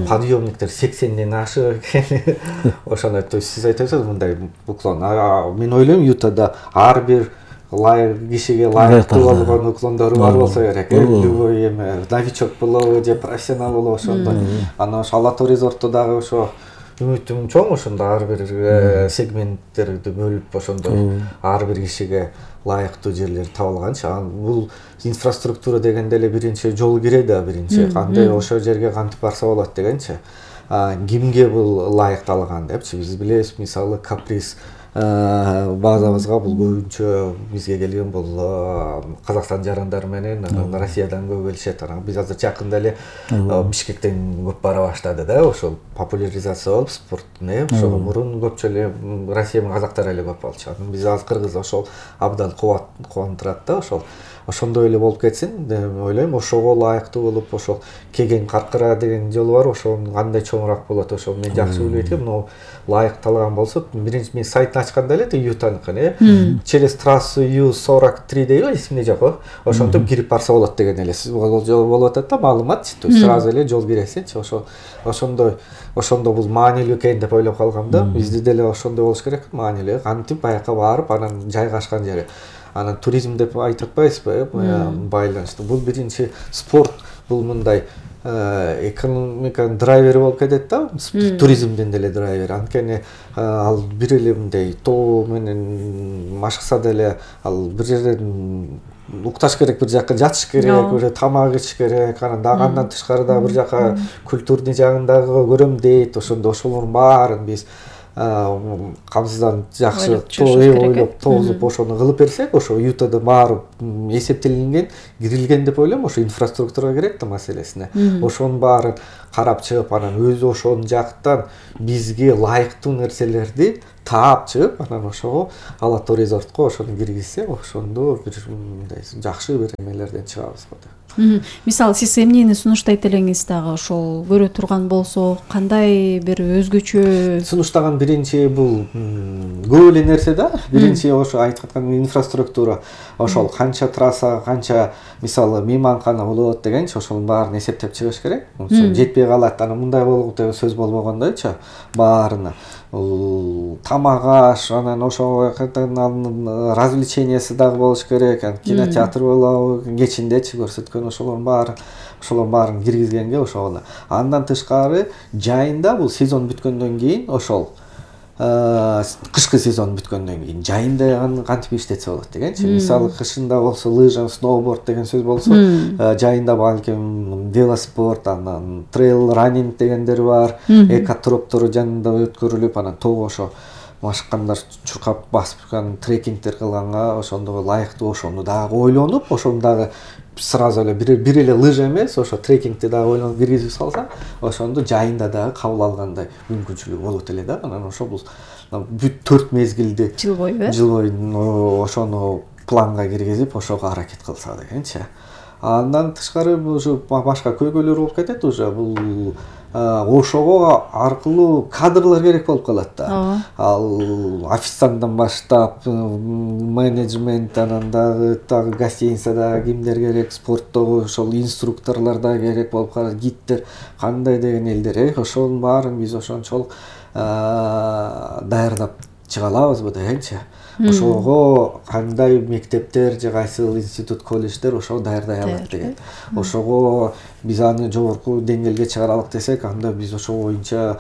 Подъемниктер 80ден ашык экен. Ошондой, то есть сиз айтасыз мындай уклон. Мен ойлойм Ютада ар бир кишиге ылайыктуу болгон уклондору бар болсо керек. Любой эме новичок болобу же профессионал болобу ошондой. Анан ошо Алатау резортто дагы ошо үмүтүм чоң, ошондо ар бир сегменттерди бөлүп ошондой ар бир кишиге ылайыктуу жерлер табылганчы. Бул инфраструктура дегенде эле биринчи жол кирет да, биринчи кандай ошол жерге кантип барса болот дегенчи. Кимге бул ылайыкталган депчи. Биз билебиз, мисалы Каприз базабызга бул көбүнчө бизге келген бул Казакстан жарандары менен Россиядан көп келишет. Биз азыр жакында эле Бишкектен көп бара баштады да, ошол популяризация болуп спорттун, ошого мурун көпчө эле Россия менен казактар эле көп болчу. Биз азыр кыргыз ошол абдан кубандырат да ошол. ошондой эле болуп кетсин деп ойлойм. Ошого ылайыктуу болуп, ошол Кеген Каркыра деген жол бар, ошонун кандай чоңураак болот, ошол мен жакшы билбейт экенмин. Могу ылайыкталган болсо, биринчи мен сайтын ачканда эле Ютаныкын, через трассу Ю-43 дейби, эсимде жок. Ошентип кирип барса болот деген эле жол болуп атат да, маалымат. То есть сразу эле жол киресинчи. Ошондо бул маанилүү экен деп ойлоп калгам да. Бизде деле ошондой болуш керек, маанилүү. Кантип баяка барып, анан жайгашкан жери. Анан туризм деп айтып атпайсызбы, байланыштуу. Бул биринчи спорт, бул мындай экономиканын драйвери болуп кетет да, туризмдин деле драйвери. Анткени ал бир эле мындай тоо менен машыкса деле ал бир жерден укташ керек, бир жакка жатыш керек, бир тамак ич керек, анан дагы андан тышкары дагы бир жакка культурный жагын дагы көрөм дейт. Ошолордун баарын биз камсызданып жакшы ойлоп тоозуп ошону кылып берсек, ошо Ютада баары эсептелинген, кирилген деп ойлойм. Ошо инфраструктура керек да маселесине. Ошонун баарын карап чыгып, анан өзү ошонун жактан бизге ылайыктуу нерселерди таап чыгып, анан ошого Ала Тоо резортко ошону киргизсе, ошондо бир мындай жакшы бир эмелерден чыгабыз го. Мисалы, сиз эмнени сунуштайт элеңиз дагы ошол көрө турган болсо, кандай бир өзгөчө сунуштаган? Биринчи бул көп эле нерсе да. Биринчи ошо айтып аткан инфраструктура, ошол канча трасса, канча мисалы мейманкана болот дегенчи, ошонун баарын эсептеп чыгыш керек. Жетпей калат, анан мындай болуп деп сөз болбогондойчу баарына. Тамак аш, анан ошого развлечениясы дагы болуш керек, кинотеатр болобу, кечиндечи көрсөткөн ошолордун баарын киргизгенге ошого. Андан тышкары жайында бул сезон бүткөндөн кийин, ошол кышкы сезон бүткөндөн кийин жайында кантип иштетсе болот дегенчи. Мисалы кышында болсо лыжа, сноуборд деген сөз болсо, жайында балким велоспорт, анан трейл раннинг дегендер бар, экотроптору жанында өткөрүлүп, анан тоого ошо машыккандар чуркап басып трекингдер кылганга ошондо ылайыктуу, ошону дагы ойлонуп, ошону дагы сразу эле бир эле лыжа эмес, ошо трекингди дагы ойлонуп киргизип салса, ошондо жайында дагы кабыл алгандай мүмкүнчүлүгү болот эле да. Анан ошо бул бүт 4 мезгилди жыл бою ошону планга киргизип, ошого аракет кылса дегенчи. Андан тышкары уже башка көйгөйлөр болуп кетет. Уже бул ошого аркылуу кадрлар керек болуп калат да. Ал официанттан баштап менеджмент, анан дагы гостиницада кимдер керек, спорттогу ошол инструкторлор да керек болуп калат, гидтер, кандай деген элдер. Ошонун баарын биз ошончолук даярдап чыга алабызбы дегенчи. Ошого кандай мектептер же кайсыл институт, колледждер ошого даярдай алат деген. Ошого биз аны жогорку деңгээлге чыгаралык десек, анда биз ошо боюнча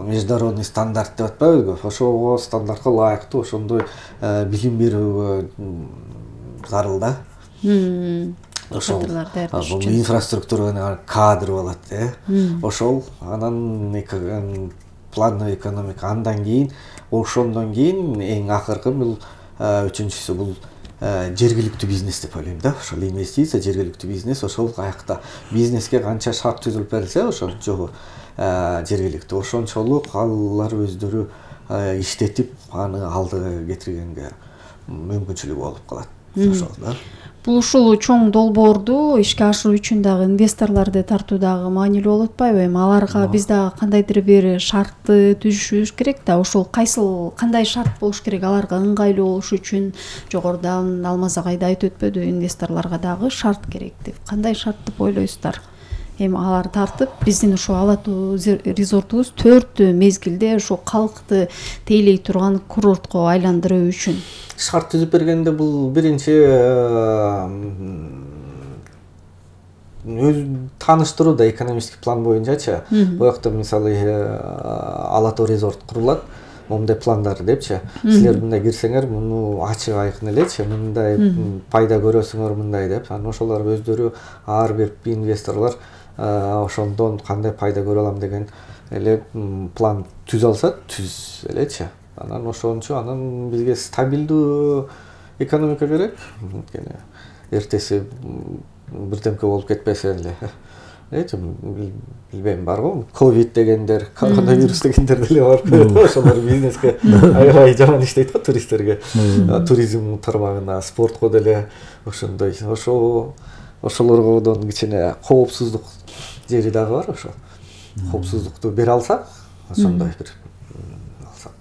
международный стандарт деп атпайбызбы? Ошого стандартка ылайыктуу ошондой билим берүүгө зарыл да. Ошол инфраструктура, кадр болот, ошол анан плановый экономика. Андан кийин, ошондон кийин эң акыркы бул үчүнчүсү бул жергиликтүү бизнес деп ойлойм да. Ошол инвестиция, жергиликтүү бизнес, ошол каякта бизнеске канча шарт түзүлүп берилсе, ошол жогу жергиликтүү ошончолук алар өздөрү иштетип аны алдыга кетиргенге мүмкүнчүлүгү болуп калат. Ошол да. Бул ушул чоң долбоорду ишке ашыруу үчүн дагы инвесторлорду тартуу дагы маанилүү болуп атпайбы? Эми аларга биз дагы кандайдыр бир шартты түзүшүбүз керек да. Ошол кандай шарт болуш керек аларга ыңгайлуу болуш үчүн? Жогорудан Алмаз агай да айтып өтпөдү, инвесторлорго дагы шарт керек деп. Кандай шарт деп ойлойсуздар? Эми алар тартып, биздин ошо Ала Тоо резортубуз 4 мезгилде ошо калкты тейлей турган курортко айландыруу үчүн шарт түзүп бергенде бул биринчи өз тааныштыруу да, экономический план боюнчачы. Бул жакта мисалы Ала Тоо резорт курулат, момундай пландар депчи. Силер мындай кирсеңер, муну ачык айкын элечи, мындай пайда көрөсүңөр мындай деп. Анан ошолор өздөрү ар бир инвесторлор ошондон кандай пайда көрө алам деген эле план түзө алса, түз элечи. Анан ошончо, анан бизге стабилдүү экономика керек. Эртеси бирдемке болуп кетпесе эле. билбейм барбы ковид дегендер, коронавирус дегендер деле бар. Ошолор бизнеске аябай жаман иштейт го туристтерге. Туризм тармагына, спортко деле ошондой. Ошолордон кичине коопсуздук жери дагы бар ошо. Коопсуздукту бере алсак, ошондой бир алсак.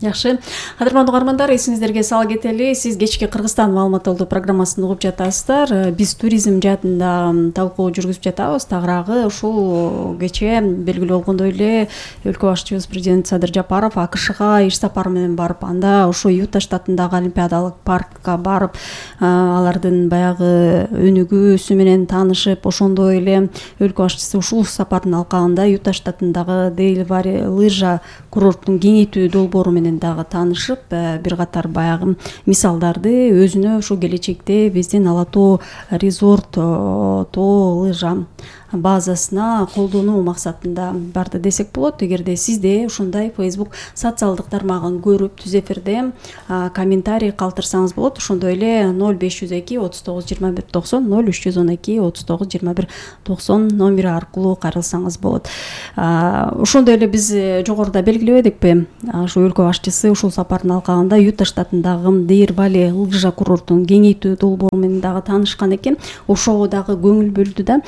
Жакшы. Кадырмандуу угармандар, эсиңиздерге сала кетели. Сиз кечки Кыргызстан маалымат алуу программасын угуп жатасыздар. Биз туризм жаатында талкуу жүргүзүп жатабыз. Тагыраагы ушул кече белгилүү болгондой эле өлкө башчыбыз президент Садыр Жапаров АКШга иш сапары менен барып, анда ошо Юта штатындагы Олимпиадалык паркка барып, алардын баягы өнүгүүсү менен таанышып, ошондой эле өлкө башчысы ушул сапардын алкагында Юта штатындагы Дейл Валли лыжа курорттун кеңейтүү долбоору менен дагы таанышып, бир катар баягы мисалдарды өзүнө ошо келечекте биздин Ала Тоо резорт тоо лыжа базасына колдонуу максатында барды десек болот. Эгерде сизде ушундай Facebook социалдык тармагын көрүп түз эфирде комментарий калтырсаңыз болот. Ошондой эле 0502 39 21 90 0312 39 21 90 номери аркылуу кайрылсаңыз болот. Ошондой эле биз жогоруда белгилебедикпи? Ошо өлкө башчысы ушул сапардын алкагында Юта штатындагы Дейр Валли лыжа курортун кеңейтүү долбоору менен дагы таанышкан экен. Ошого дагы көңүл бөлдү да.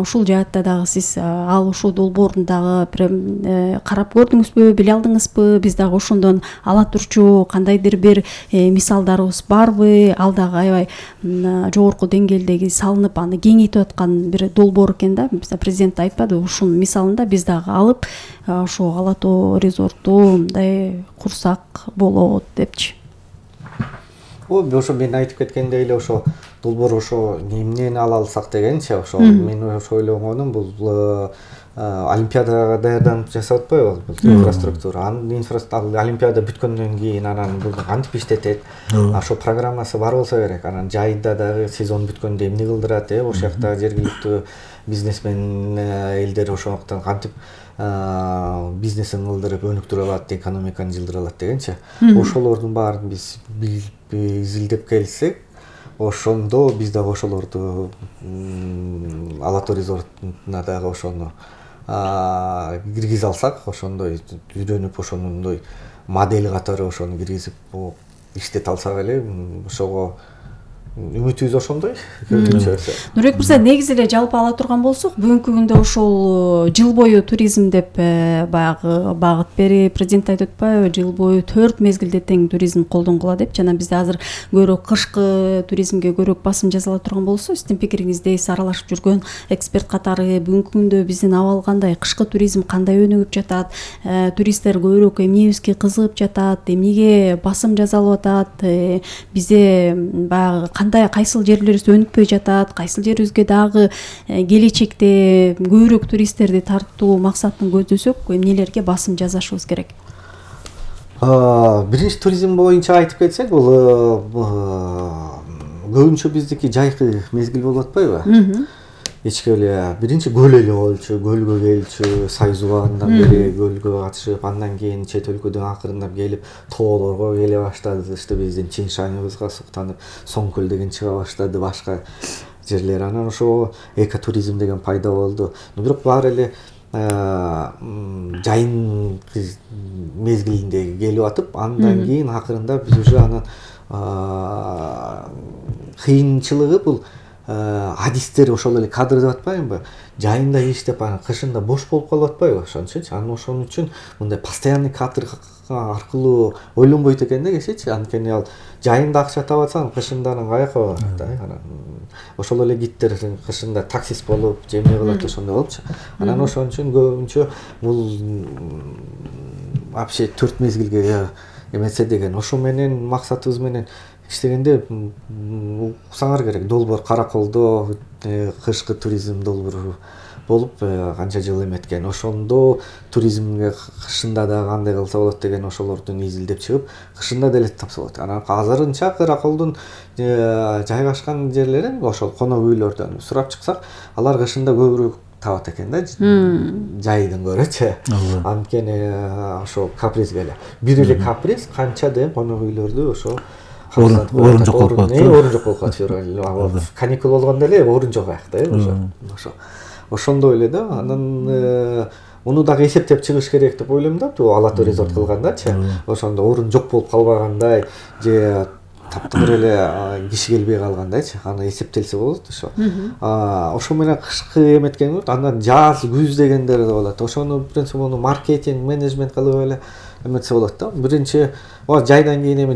Ушул жаатта дагы сиз ал ушул долбоорун дагы карап көрдүңүзбү, биле алдыңызбы? Биз дагы ошондон ала турчу кандайдыр бир мисалдарыбыз барбы? Ал дагы аябай жогорку деңгээлдеги салынып, аны кеңейтип аткан бир долбоор экен да. Президент айтпады, ушунун мисалында биз дагы алып, ошо Ала Тоо резорту мындай курсак болот депчи. Ошо мен айтып кеткендей эле ошо долбоор ошо эмнени ала алсак дегенчи, ошо мен ошо ойлогонум бул Олимпиадага даярданып жасап атпайбы инфраструктура. Анын Олимпиада бүткөндөн кийин анан бул кантип иштетет? Ошо программасы бар болсо керек. Анан жайда дагы сезон бүткөндө эмне кылдырат, ошол жакта жергиликтүү бизнесмен элдер ошондуктан кантип бизнесин кылдырып өнүктүрө алат, экономиканы жылдыра алат дегенчи. Ошолордун баарын биз изилдеп келсек, ошондо биз дагы ошолорду Ала Тоо резортуна дагы ошону киргизе алсак, ошондой үйрөнүп, ошондой модель катары ошону киргизип иштете алсак эле, ошого үмүтүбүз ошондой. Нурбек мырза, негизи эле жалпы ала турган болсок, бүгүнкү күндө ошол жыл бою туризм деп баягы багыт берип, президент айтып атпайбы, жыл бою 4 мезгилде тең туризм колдонгула деп. Жана бизде азыр көбүрөөк кышкы туризмге көбүрөөк басым жасала турган болсо, сиздин пикириңизде аралашып жүргөн эксперт катары бүгүнкү күндө биздин абал кандай, кышкы туризм кандай өнүгүп жатат, туристтер көбүрөөк эмнебизге кызыгып жатат, эмнеге басым жасалып атат, бизде баягы кайсыл жерлерибиз өнүкпөй жатат, кайсыл жерибизге дагы келечекте көбүрөөк туристтерди тартуу максатын көздөсөк, эмнелерге басым жасашыбыз керек? Биринчи туризм боюнча айтып кетсек, бул көбүнчө биздики жайкы мезгил болуп атпайбы? Кечке эле биринчи көл эле болчу, көлгө келчү, Сайзубандан бери көлгө катышып, андан кийин чет өлкөдөн акырындап келип, тоолорго келе баштады. Биздин Чиншаныбызга суктанып, Соңкөл деген чыга баштады, башка жерлер. Анан ошо экотуризм деген пайда болду. Бирок баары эле жайын мезгилинде келип атып, андан кийин акырындап биз уже анан кыйынчылыгы бул адистер ошол эле кадр деп атпаймынбы? Жайында иштеп, анан кышында бош болуп калып атпайбы ошончучу? Анан ошон үчүн мындай постоянный кадр аркылуу ойлонбойт экен да кишичи. Анткени ал жайында акча таап атсаң, кышында анан каяка барат да. Анан ошол эле гидтер кышында таксист болуп, же эмне кылат ошондой болупчу. Анан ошон үчүн көбүнчө бул вообще 4 мезгилге эмесе деген. Ошо менен максатыбыз менен иштегенде уксаңар керек. Долбоор Караколдо кышкы туризм долбоору болуп канча жыл эметкен. Ошондо туризмге кышында да кандай кылса болот деген ошолордун изилдеп чыгып, кышында деле тапса болот. Анан азырынча Караколдун жайгашкан жерлерин ошол конок үйлөрдөн сурап чыксак, алар кышында көбүрөөк табат экен да, жайдын көрөчү. Анткени ошо капризге эле. Бир эле каприз канча деген конок үйлөрдү ошо орун жок болуп калат. Орун жок болуп калат. Каникул болгондо эле орун жок аякта, ошо. ошондой эле да. Анан муну дагы эсептеп чыгыш керек деп ойлойм да. Ала Тоо резорт кылгандачы. Ошондо орун жок болуп калбагандай же таптыр эле киши келбей калгандайчы. Аны эсептелсе болот ошо. Ошо менен кышкы эметкен болот. Андан жаз, күз дегендер да болот. Ошону принцип маркетинг, менеджмент кылып эле эметсе болот да. Биринчи жайдан кийин эме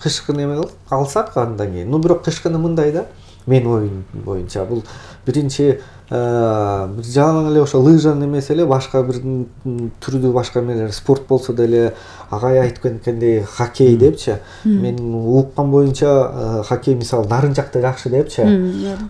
кышкы эме алсак андан кийин. Бирок кышкыны мындай да. Менин оюм боюнча бул биринчи жаңы эле ошо лыжанын эмеси эле башка бир түрдүү башка эмелер спорт болсо деле агай айтып кеткендей хоккей депчи. Мен уккан боюнча хоккей мисалы нарын жакта жакшы депчи.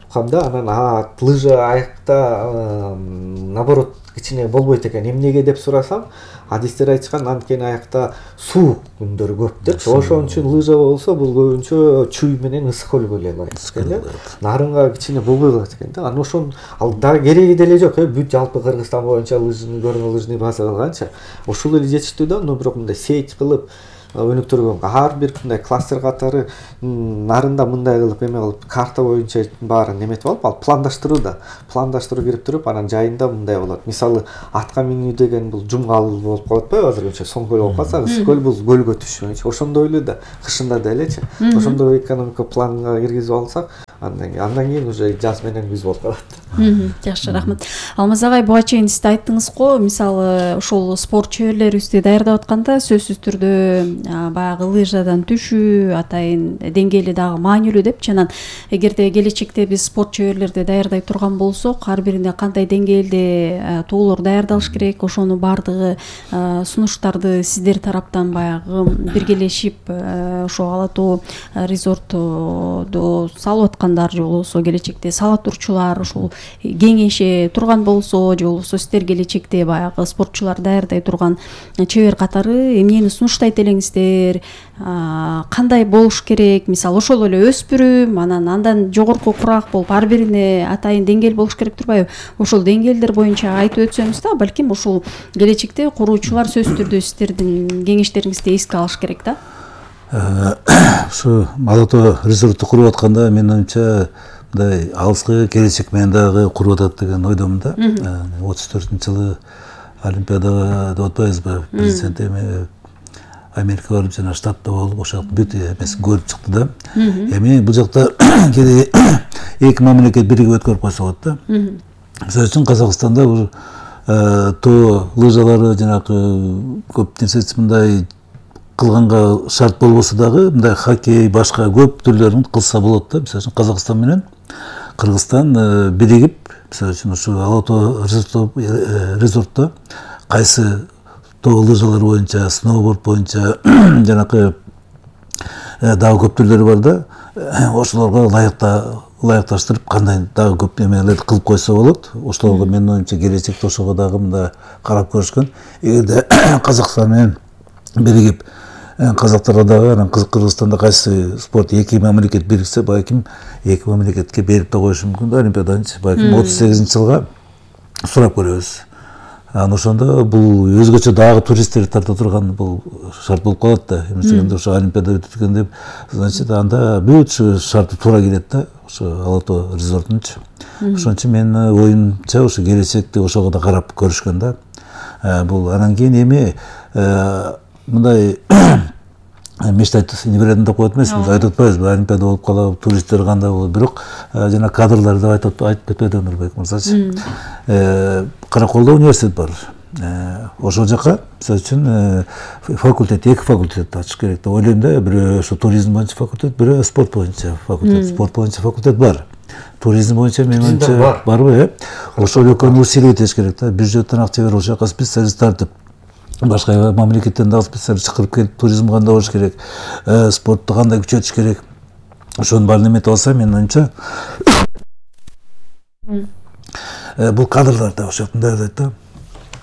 Уккам да. Анан лыжа аякта наоборот кичине болбойт экен. Эмнеге деп сурасам, адистер айтышкан анткени аякта суу күндөрү көп депчи. Ошон үчүн лыжа болсо бул көбүнчө чүй менен ысык көлгө эле ылайык экен. Нарынга кичине болбой калат экен да. Анан ошон ал дагы кереги деле жок. Бүт жалпы Кыргызстан боюнча көрүнгөн лыжный база кылганча ушул эле жетиштүү да. Бирок мындай сеть кылып өнүктүргөн ар бир мындай кластер катары нарында мындай кылып эме кылып карта боюнча баарын эметип алып, ал пландаштыруу кирип туруп, анан жайында мындай болот. Мисалы атка минүү деген бул жумгал болуп калат атпайбы азырынча соң көл болуп калса, ысык көл бул көлгө түшмөйчү. Ошондой эле да кышында делечи. Ошондой экономика планга киргизип алсак, андан кийин уже жаз менен күз болуп калат. Жакшы, рахмат. Алмаз агай, буга чейин сиз айттыңыз го, мисалы ошол спорт чөйрлөрүбүздү даярдап атканда сөзсүз түрдө баягы лыжадан түшүү атайын деңгээли дагы маанилүү депчи. Анан эгерде келечекте биз спорт чөйрлөрдү даярдай турган болсок, ар бирине кандай деңгээлде тоолор даярдалыш керек, ошонун баардыгы сунуштарды сиздер тараптан баягы биргелешип ошо Ала Тоо резортду салып аткандар же болбосо келечекте сала турчулар ушул кеңеше турган болсо, же болбосо сиздер келечекте баягы спортчулар даярдай турган чебер катары эмнени сунуштайт элеңиздер, кандай болуш керек? Мисалы ошол эле өспүрүм, андан жогорку курак болуп ар бирине атайын деңгээл болуш керек турбайбы? Ошол деңгээлдер боюнча айтып өтсөңүз да, балким ушул келечекте куруучулар сөзсүз түрдө сиздердин кеңештериңизди эске алыш керек да. Ушу Ала Тоо резортту куруп атканда менин оюмча мындай алыскы келечек менен дагы куруп атат деген ойдомун да. 34-жылы Олимпиадага деп атпайбызбы? Президент эми Америкага барып жана штатта болуп, ошол бүт эмесин көрүп чыкты да. Эми бул жакта кээде эки мамлекет биригип өткөрүп койсо болот да. Мисалы үчүн Казакстанда бул тоо лыжалары жанагы көп нерсеси мындай кылганга шарт болбосо дагы мындай хоккей башка көп түрлөрүн кылса болот да. Мисалы үчүн Казакстан менен Кыргызстан биригип, мисалы үчүн ушу Ала Тоо резортто кайсы тоо лыжалар боюнча, сноуборд боюнча жанакы дагы көп түрлөрү бар да. Ошолорго ылайыкташтырып кандай дагы көп эмелерди кылып койсо болот. Ошолорго менин оюмча келечекте ошого дагы мындай карап көрүшкөн. Эгерде Казакстан менен биригип казактарга дагы анан Кыргызстанда кайсы спорт эки мамлекет бириксе, балким эки мамлекетке берип да коюшу мүмкүн да Олимпиаданчы. Балким 38-жылга сурап көрөбүз. Анан ошондо бул өзгөчө дагы туристтерди тарта турган бул шарт болуп калат да. Эмне ошо Олимпиада өтүп деп, значит, анда бүт шарты туура келет да, ошо Ала Тоо резортунчу. Ошон үчүн менин оюмча ошо келечекте ошого да карап көрүшкөн да. Бул анан кийин эми мындай мечтать не берем деп коет эмесмиз, айтып атпайбызбы, Олимпиада болуп калабы, туристтер кандай болот, бирок жана кадрлар деп айтып кетпеди Нурбек мырзачы. Караколдо университет бар. Ошол жака, мисалы үчүн, факультет, эки факультет ачыш керек деп ойлойм да. Бирөө ошо туризм боюнча факультет, бирөө спорт боюнча факультет. Спорт боюнча факультет бар. Туризм боюнча менин оюмча барбы, ошол экөөнү усилить этиш керек да. Бюджеттен акча берип, ошол жака специалист тартып, башка мамлекеттен дагы специалист чакырып келип, туризм кандай болуш керек, спортту кандай күчөтүш керек. Ошонун баарын эметип алса, менин оюмча бул кадрлар да ошол жактан даярдайт да.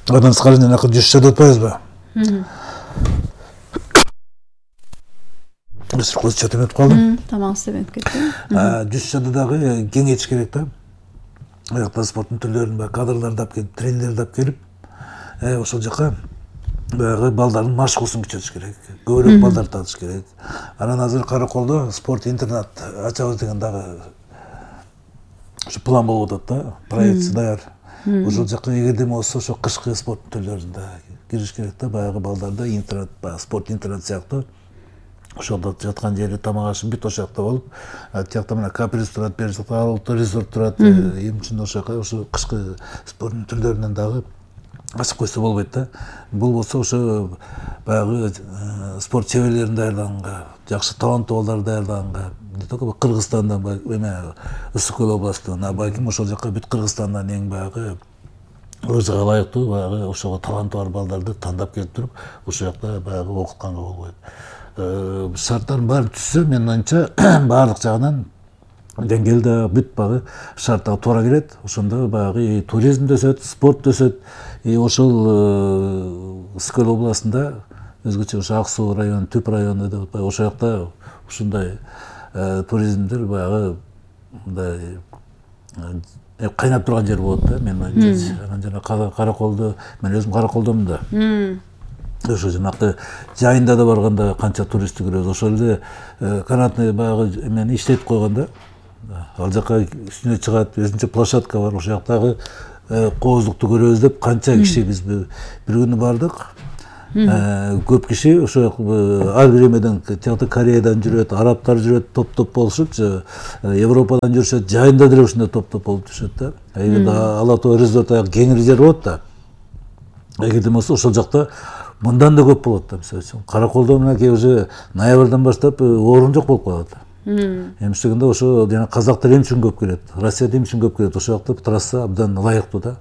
Андан сырткары жанакы жүз деп атпайбызбы? Көз чөтүп өтүп калдым. Тамак істеп кетти. Жүз дагы кеңейтиш керек да. Аякта спорттун түрлөрүн кадрларды алып келип, тренерлерди алып келип, ошол жака баягы балдардын машыгуусун күчөтүш керек. Көбүрөөк балдар татыш керек. Анан азыр Караколдо спорт интернат ачабыз деген дагы ушу план болуп атат да, проектси даяр. Ошол жака эгерде болсо ошо кышкы спорт түрлөрүнө да кириш керек да, баягы балдарда интернет, спорт интернет сыяктуу. Ошолдо жаткан жери тамак ашып бүт ошол жакта болуп, тиякта мына каприз турат, бери жакта Аралыкта резорт турат. Эми үчүн ошол жака ошо кышкы спорт түрдөрүнөн дагы ачып койсо болбойт да. Бул болсо ошо баягы спорт чеберлерин даярдаганга, жакшы таланттуу балдарды даярдаганга, не только Кыргызстандан, эме Ысык көл областынан, балким ошол жака бүт Кыргызстандан эң баягы өзүгө ылайыктуу баягы ошого таланты бар балдарды тандап келип туруп, ошол жакта баягы окутканга болбойт. Шарттардын баарын түзсө, менин оюмча баардык жагынан деңгээлде бүт баягы шарттарга туура келет. Ошондо баягы туризм да өсөт, спорт да өсөт. Ошол Ысык көл областында өзгөчө ошо Ак суу району, Түп району деп атпайбы, ошол жакта ушундай туризмдер баягы мындай кайнап турган жер болот да, менин оюмча. Анан жана Караколдо, мен өзүм Караколдомун да. Ошо жанакы жайында да барганда канча туристти көрөбүз. Ошол эле канатный баягы эмени иштетип койгон да. Ал жака үстүнө чыгат, өзүнчө площадка бар. Ошол жактагы кооздукту көрөбүз деп канча киши биз бир күнү бардык. Көп киши ошо ар бир эмеден тиякта Кореядан жүрөт, арабтар жүрөт, топ-топ болушуп, Европадан жүрүшөт, жайында деле ушундай топ-топ болуп жүрүшөт да. Эгерде Ала Тоо резорт кеңири жер болот да. Эгерде болсо ошол жакта мындан да көп болот да. Мисалы үчүн Караколдо мынакей уже ноябрдан баштап орун жок болуп калат. Эми ошондо ошо жана казактар эмне үчүн көп келет, Россияда эмне үчүн көп келет, ошол жакта трасса абдан ылайыктуу да.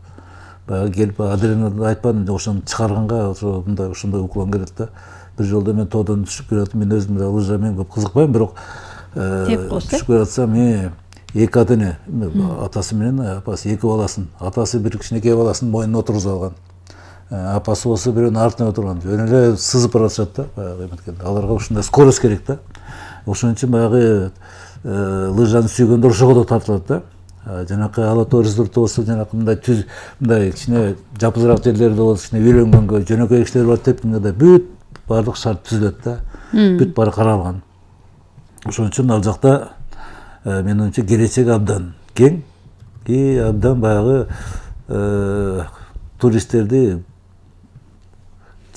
Баягы келип адреналин айтпадым, ошону чыгарганга ошо мындай ошондой уклон келет да. Бир жолдо мен тоодон түшүп келатым, мен өзүм да лыжамен көп кызыкпайм, бирок түшүп келатсам, эки ата эне, атасы менен апасы, эки баласын, атасы бир кичинекей баласын мойнуна отургузуп алган. Апасы болсо бирөөнүн артына отурган. Жөн эле сызып баратышат да, баягы эметкенде. Аларга ушундай скорость керек да. Ошон үчүн баягы лыжаны сүйгөндөр ошого да тартылат да. Жанакы Ала Тоо резорту болсо жанакы мындай түз, мындай кичине жапызыраак жерлерде болсо, кичине үйлөнгөнгө, жөнөкөй кишилер бар деп, мындай бүт баардык шарт түзүлөт да. Бүт баары каралган. Ошон үчүн ал жакта менин оюмча келечеги абдан кең, абдан баягы туристтерди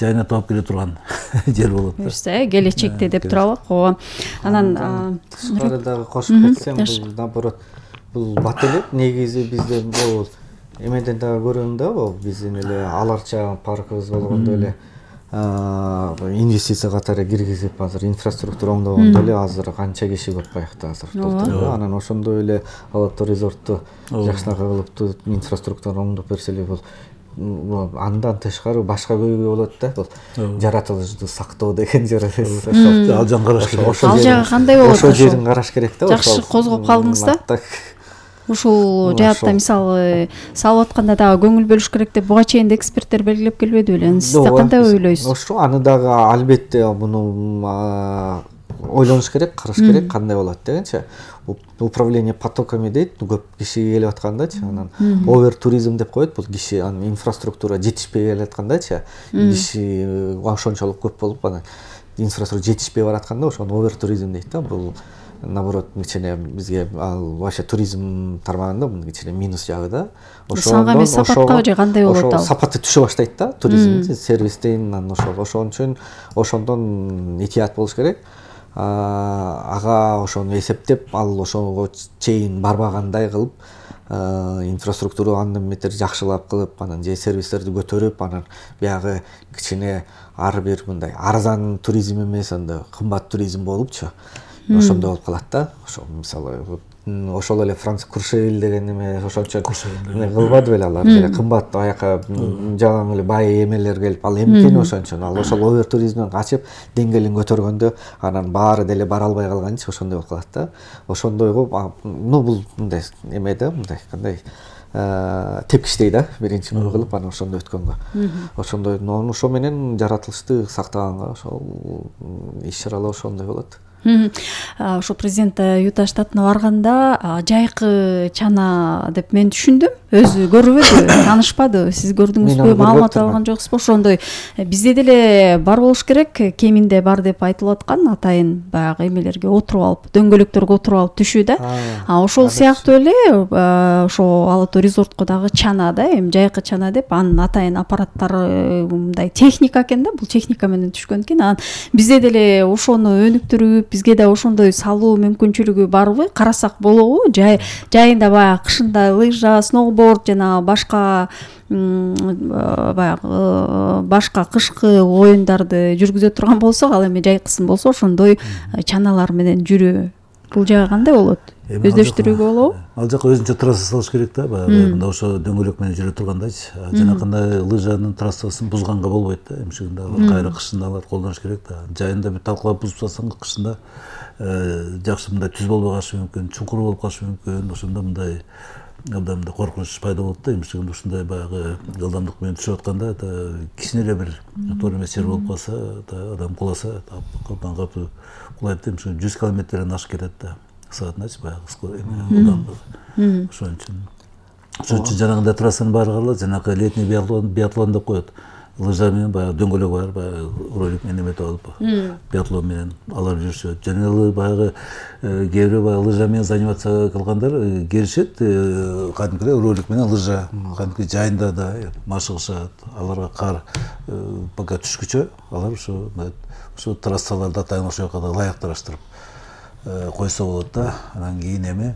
жайына таап келе турган жер болот да. Келечекте деп туралык. Ооба. Анан тышкары дагы кошуп кетсем, бул наоборот бул бат эле негизи бизде бул эмеден дагы көрөм да, бул биздин эле аларча паркыбыз болгондо эле инвестиция катары киргизип азыр инфраструктура оңдогондо эле азыр канча киши көп баягы азыр толтуруп. Анан ошондой эле Ала Тоо резорту жакшыраак кылып инфраструктураны оңдоп берсе эле бул андан тышкары башка көйгөй болот да. Бул жаратылышты сактоо деген жер ал жагын караш керек. Ал жагы кандай болот? Ошол жерин караш керек да. Жакшы козгоп калдыңыз да. Ушул жаатта мисалы салып атканда дагы көңүл бөлүш керек деп буга чейин эксперттер белгилеп келбеди беле? Сиз кандай ойлойсуз? Ошо аны дагы албетте муну ойлонуш керек, караш керек, кандай болот дегенчи. Управление потоками дейт, көп киши келип аткандачы, анан овер туризм деп коет, бул киши инфраструктура жетишпей келаткандачы, киши ошончолук көп болуп анан инфраструктура жетишпей баратканда ошону овер туризм дейт да. Бул наоборот кичине бизге ал вообще туризм тармагында бул кичине минус жагы да. Санга эмес сапатка же кандай болот ал? Сапаты түшө баштайт да, туризм сервистен, анан ошон үчүн ошондон этият болуш керек. Ага ошону эсептеп, ал ошого чейин барбагандай кылып, инфраструктура андан бетер жакшылап кылып, анан же сервистерди көтөрүп, анан биягы кичине ар бир мындай арзан туризм эмес, анда кымбат туризм болупчу. Ошондой болуп калат да. Ошо мисалы ошол эле Франц Куршевель деген эме ошончо кылбады беле алар, эле кымбат аяка жалаң эле бай эмелер келип, ал эмкени ошончо. Ал ошол овер туризмден качып, деңгээлин көтөргөндө анан баары деле бара албай калганчы ошондой болуп калат да. Ошондойго бул мындай эме да, мындай кандай тепкичтей да, биринчи кылып анан ошондой өткөнгө. Ошондой ошо менен жаратылышты сактаганга ошол иш-чаралар ошондой болот. Ошо президент Юта штатына барганда жайкы чана деп мен түшүндүм. өзү көрбөдү, таанышпады, сиз көрдүңүзбү, маалымат алган жоксузбу? Ошондой бизде деле бар болуш керек, кеминде бар деп айтылып аткан атайын баягы эмелерге отуруп алып, дөңгөлөктөргө отуруп алып түшүү да. Ошол сыяктуу эле ошо Ала Тоо резортко дагы чана да, эми жайкы чана деп, анын атайын аппараттары мындай техника экен да, бул техника менен түшкөн экен. Анан бизде деле ошону өнүктүрүп, бизге да ошондой салуу мүмкүнчүлүгү барбы? Карасак болобу? Жайында баягы кышында лыжа, сноуборд жана башка баягы башка кышкы оюндарды жүргүзө турган болсок, ал эми жайкысын болсо ошондой чаналар менен жүрүү. Бул жагы кандай болот? Өздөштүрүүгө болобу? Ал жака өзүнчө трасса салыш керек да, баягы мында ошо дөңгөлөк менен жүрө тургандайчы. Жанакындай лыжанын трассасын бузганга болбойт да, эмшигинде алар кайра кышында алар колдонуш керек да. Жайында бир талкалап бузуп салсаң, кышында жакшы мындай түз болбой калышы мүмкүн, чуңкур болуп калышы мүмкүн. Ошондо мындай абдан коркунуч пайда болот да, эмшигинде ушундай баягы ылдамдык менен түшүп атканда кичине эле бир тоор эмес жер болуп калса, адам куласа, абдан катуу кулайт да, 100 километрден ашып кетет да. Саатыначы баягы ылдамдыгы. Ошон үчүн жанагындай трассанын баары калат, жанакы летний биатлон деп коет. Лыжа менен баягы дөңгөлөк бар, баягы ролик менен эметип алып, биатлон менен алар жүрүшөт. Жана эле баягы кээ бирөө баягы лыжа менен занимация кылгандар келишет, кадимкидей ролик менен лыжа кадимки жайында да машыгышат. Аларга кар пока түшкүчө алар ошо трассаларды атайын ошол жака да ылайыкташтырып койсо болот да. Анан кийин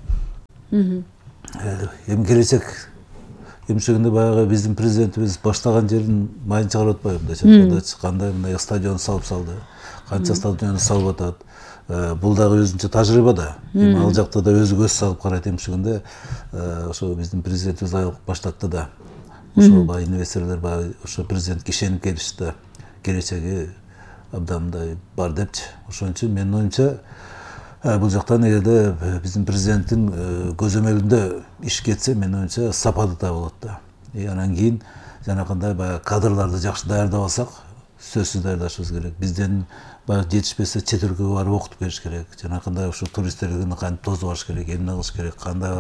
эми келечек эмшегинде баягы биздин президентибиз баштаган жерин майын чыгарып атпайбы мындайча айткандачы, кандай мындай стадион салып салды, канча стадион салып атат. Бул дагы өзүнчө тажрыйба да. Эми ал жакта да өзү көз салып карайт, эмшегинде ошо биздин президентибиз баштатты да. Ошо баягы инвесторлор баягы ошо президентке ишенип келишти. Келечеги абдан мындай бар депчи. Ошон үчүн менин оюмча бул жактан эгерде биздин президенттин көзөмөлүндө иш кетсе, менин оюмча сапаты да болот да. Анан кийин жанакындай баягы кадрларды жакшы даярдап алсак, сөзсүз даярдашыбыз керек. Бизден баягы жетишпесе чет өлкөгө барып окутуп келиш керек. Жанакындай ошо туристтерди кантип тосуп алыш керек, эмне кылыш керек, кандай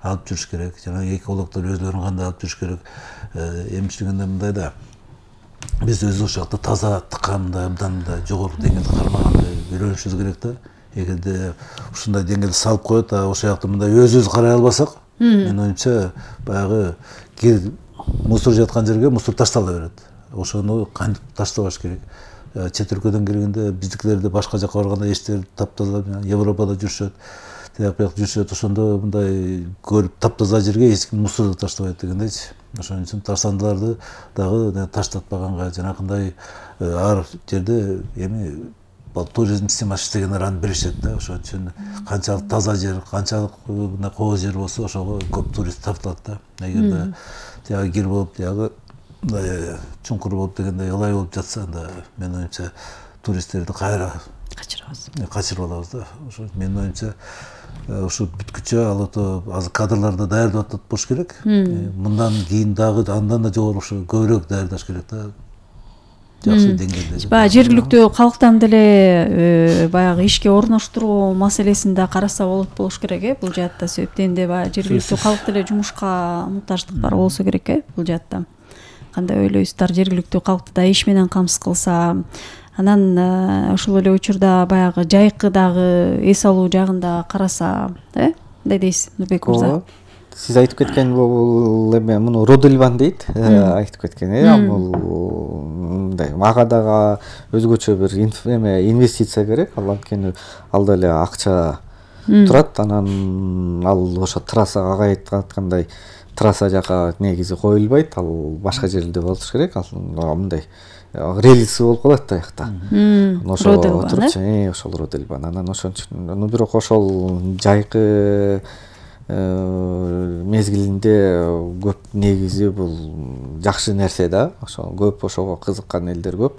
алып жүрүш керек, жана экологдор өзлөрүн кандай алып жүрүш керек. Эмчилигинде мындай да, биз өзүбүз ошол жакта таза, тыккандай, абдан мындай жогорку деңгээлде кармагандай үйрөнүшүбүз керек да. Эгерде ушундай деңгээлде салып коет, ошол жакта мындай өзүбүз карай албасак, менин оюмча баягы мусор жаткан жерге мусор таштала берет. Ошону кантип таштабаш керек. Чет өлкөдөн келгенде биздикилерди башка жака барганда эчтер таптаза, Европада жүрүшөт, тияк бияк жүрүшөт, ошондо мындай көрүп таптаза жерге эч ким мусорду таштабайт дегендейчи. Ошон үчүн таштандыларды дагы таштатпаганга, жанакындай ар жерде эми туризм системасы иштегендер аны билишет да. Ошон үчүн канчалык таза жер, канчалык мындай кооз жер болсо, ошого көп турист тартылат да. Эгерде тиягы кир болуп, тиягы чуңкур болуп дегендей ылай болуп жатса, анда менин оюмча туристтерди кайра качырып алабыз да. Ошо менин оюмча ушу бүткүчө Ала Тоо азыр кадрларды даярдап атат болуш керек. Мындан кийин дагы андан да жогору ушу көбүрөөк даярдаш керек да. Жакшы деңгээлде. Баягы жергиликтүү калктан деле баягы ишке орноштуруу маселесин да караса болуш керек бул жаатта. Себептенде баягы жергиликтүү калк деле жумушка муктаждык бар болсо керек бул жаатта. Кандай ойлойсуздар, жергиликтүү калкты да иш менен камсыз кылса, анан ошол эле учурда баягы жайкы дагы эс алуу жагында караса, кандай дейсиз, Нурбек мырза? Сиз айтып кеткен бул эме муну Родельбан дейт, айтып кеткен. Бул мындай мага дагы өзгөчө бир инвестиция керек. Анткени алда эле акча турат, анан ал ошо трассага айткандай трасса жака негизи коюлбайт, ал башка жерде болуш керек. Ал мындай релиси болуп калат да аякта. Ошол турчу, ошол Родельбан. Анан ошон үчүн бирок ошол жайкы мезгилинде көп негизи бул жакшы нерсе да. Ошо көп ошого кызыккан элдер көп.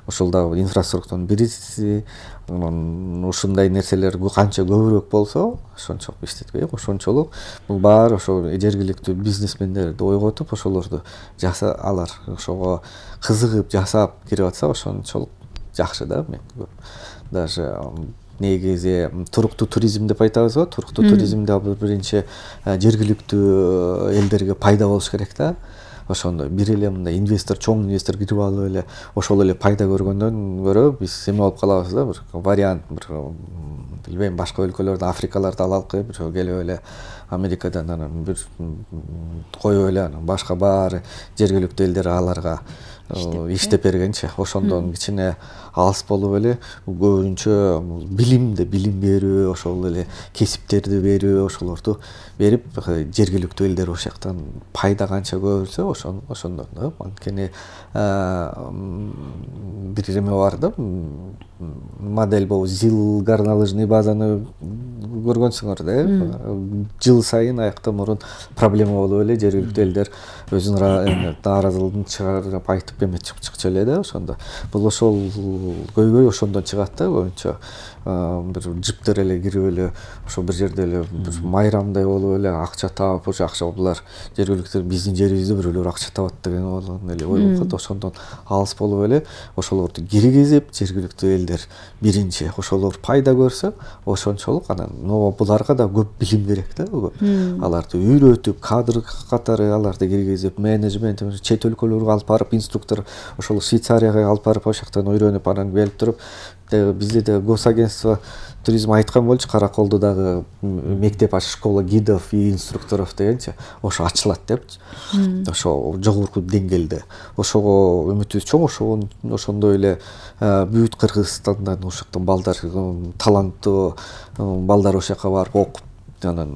Ошол дагы инфраструктуранын бириси. Ушундай нерселер канча көбүрөөк болсо, ошончолук иштетпей, ошончолук бул баары ошо жергиликтүү бизнесмендерди ойготуп, ошолорду алар ошого кызыгып жасап кирип атса, ошончолук жакшы да. Мен даже негизи туруктуу туризм деп айтабыз го. Туруктуу туризмде ал биринчи жергиликтүү элдерге пайда болуш керек да. Ошондой бир эле мындай инвестор, чоң инвестор кирип алып эле ошол эле пайда көргөндөн көрө биз эме болуп калабыз да, бир вариант, бир билбейм, башка өлкөлөрдө, Африкаларда алалыкы, бир келип эле Америкадан анан бир коюп эле анан башка баары жергиликтүү элдер аларга иштеп бергенчи, ошондон кичине алыс болуп эле көбүнчө билимди, билим берүү, ошол эле кесиптерди берүү, ошолорду берип жергиликтүү элдер ошол жактан пайда канча көрсө ошондон да. Анткени бир эме бар да, модель болуп ЗИЛ горнолыжный базаны көргөнсүңөр да. Жыл сайын аякта мурун проблема болуп эле жергиликтүү элдер өзүнүн нааразылыгын чыгарып айтып эме чыкчу эле да. Ошондо бул ошол көйгөй ошондон чыгат да. Көбүнчө бир жиптер эле кирип эле ошо бир жерде эле бир майрамдай болуп эле акча таап, ошо акча булар жергиликтүү биздин жерибизде бирөөлөр акча табат деген эле ой болуп калат. Ошондон алыс болуп эле ошолорду киргизип жергиликтүү элдер биринчи ошолор пайда көрсө, ошончолук анан буларга да көп билим керек да. Аларды үйрөтүп, кадр катары аларды киргизип, менеджмент, чет өлкөлөргө алып барып, инструктор ошол Швейцарияга алып барып, ошол жактан үйрөнүп, анан келип туруп, бизде да госагентство туризм айткан болчу, Караколдо дагы мектеп школа гидов и инструкторов дегенчи, ошо ачылат депчи. Ошо жогорку деңгээлде. Ошого үмүтүбүз чоң, ошондой эле бүт Кыргызстандан ошол жактан балдар, таланттуу балдар ошол жака барып окуп, анан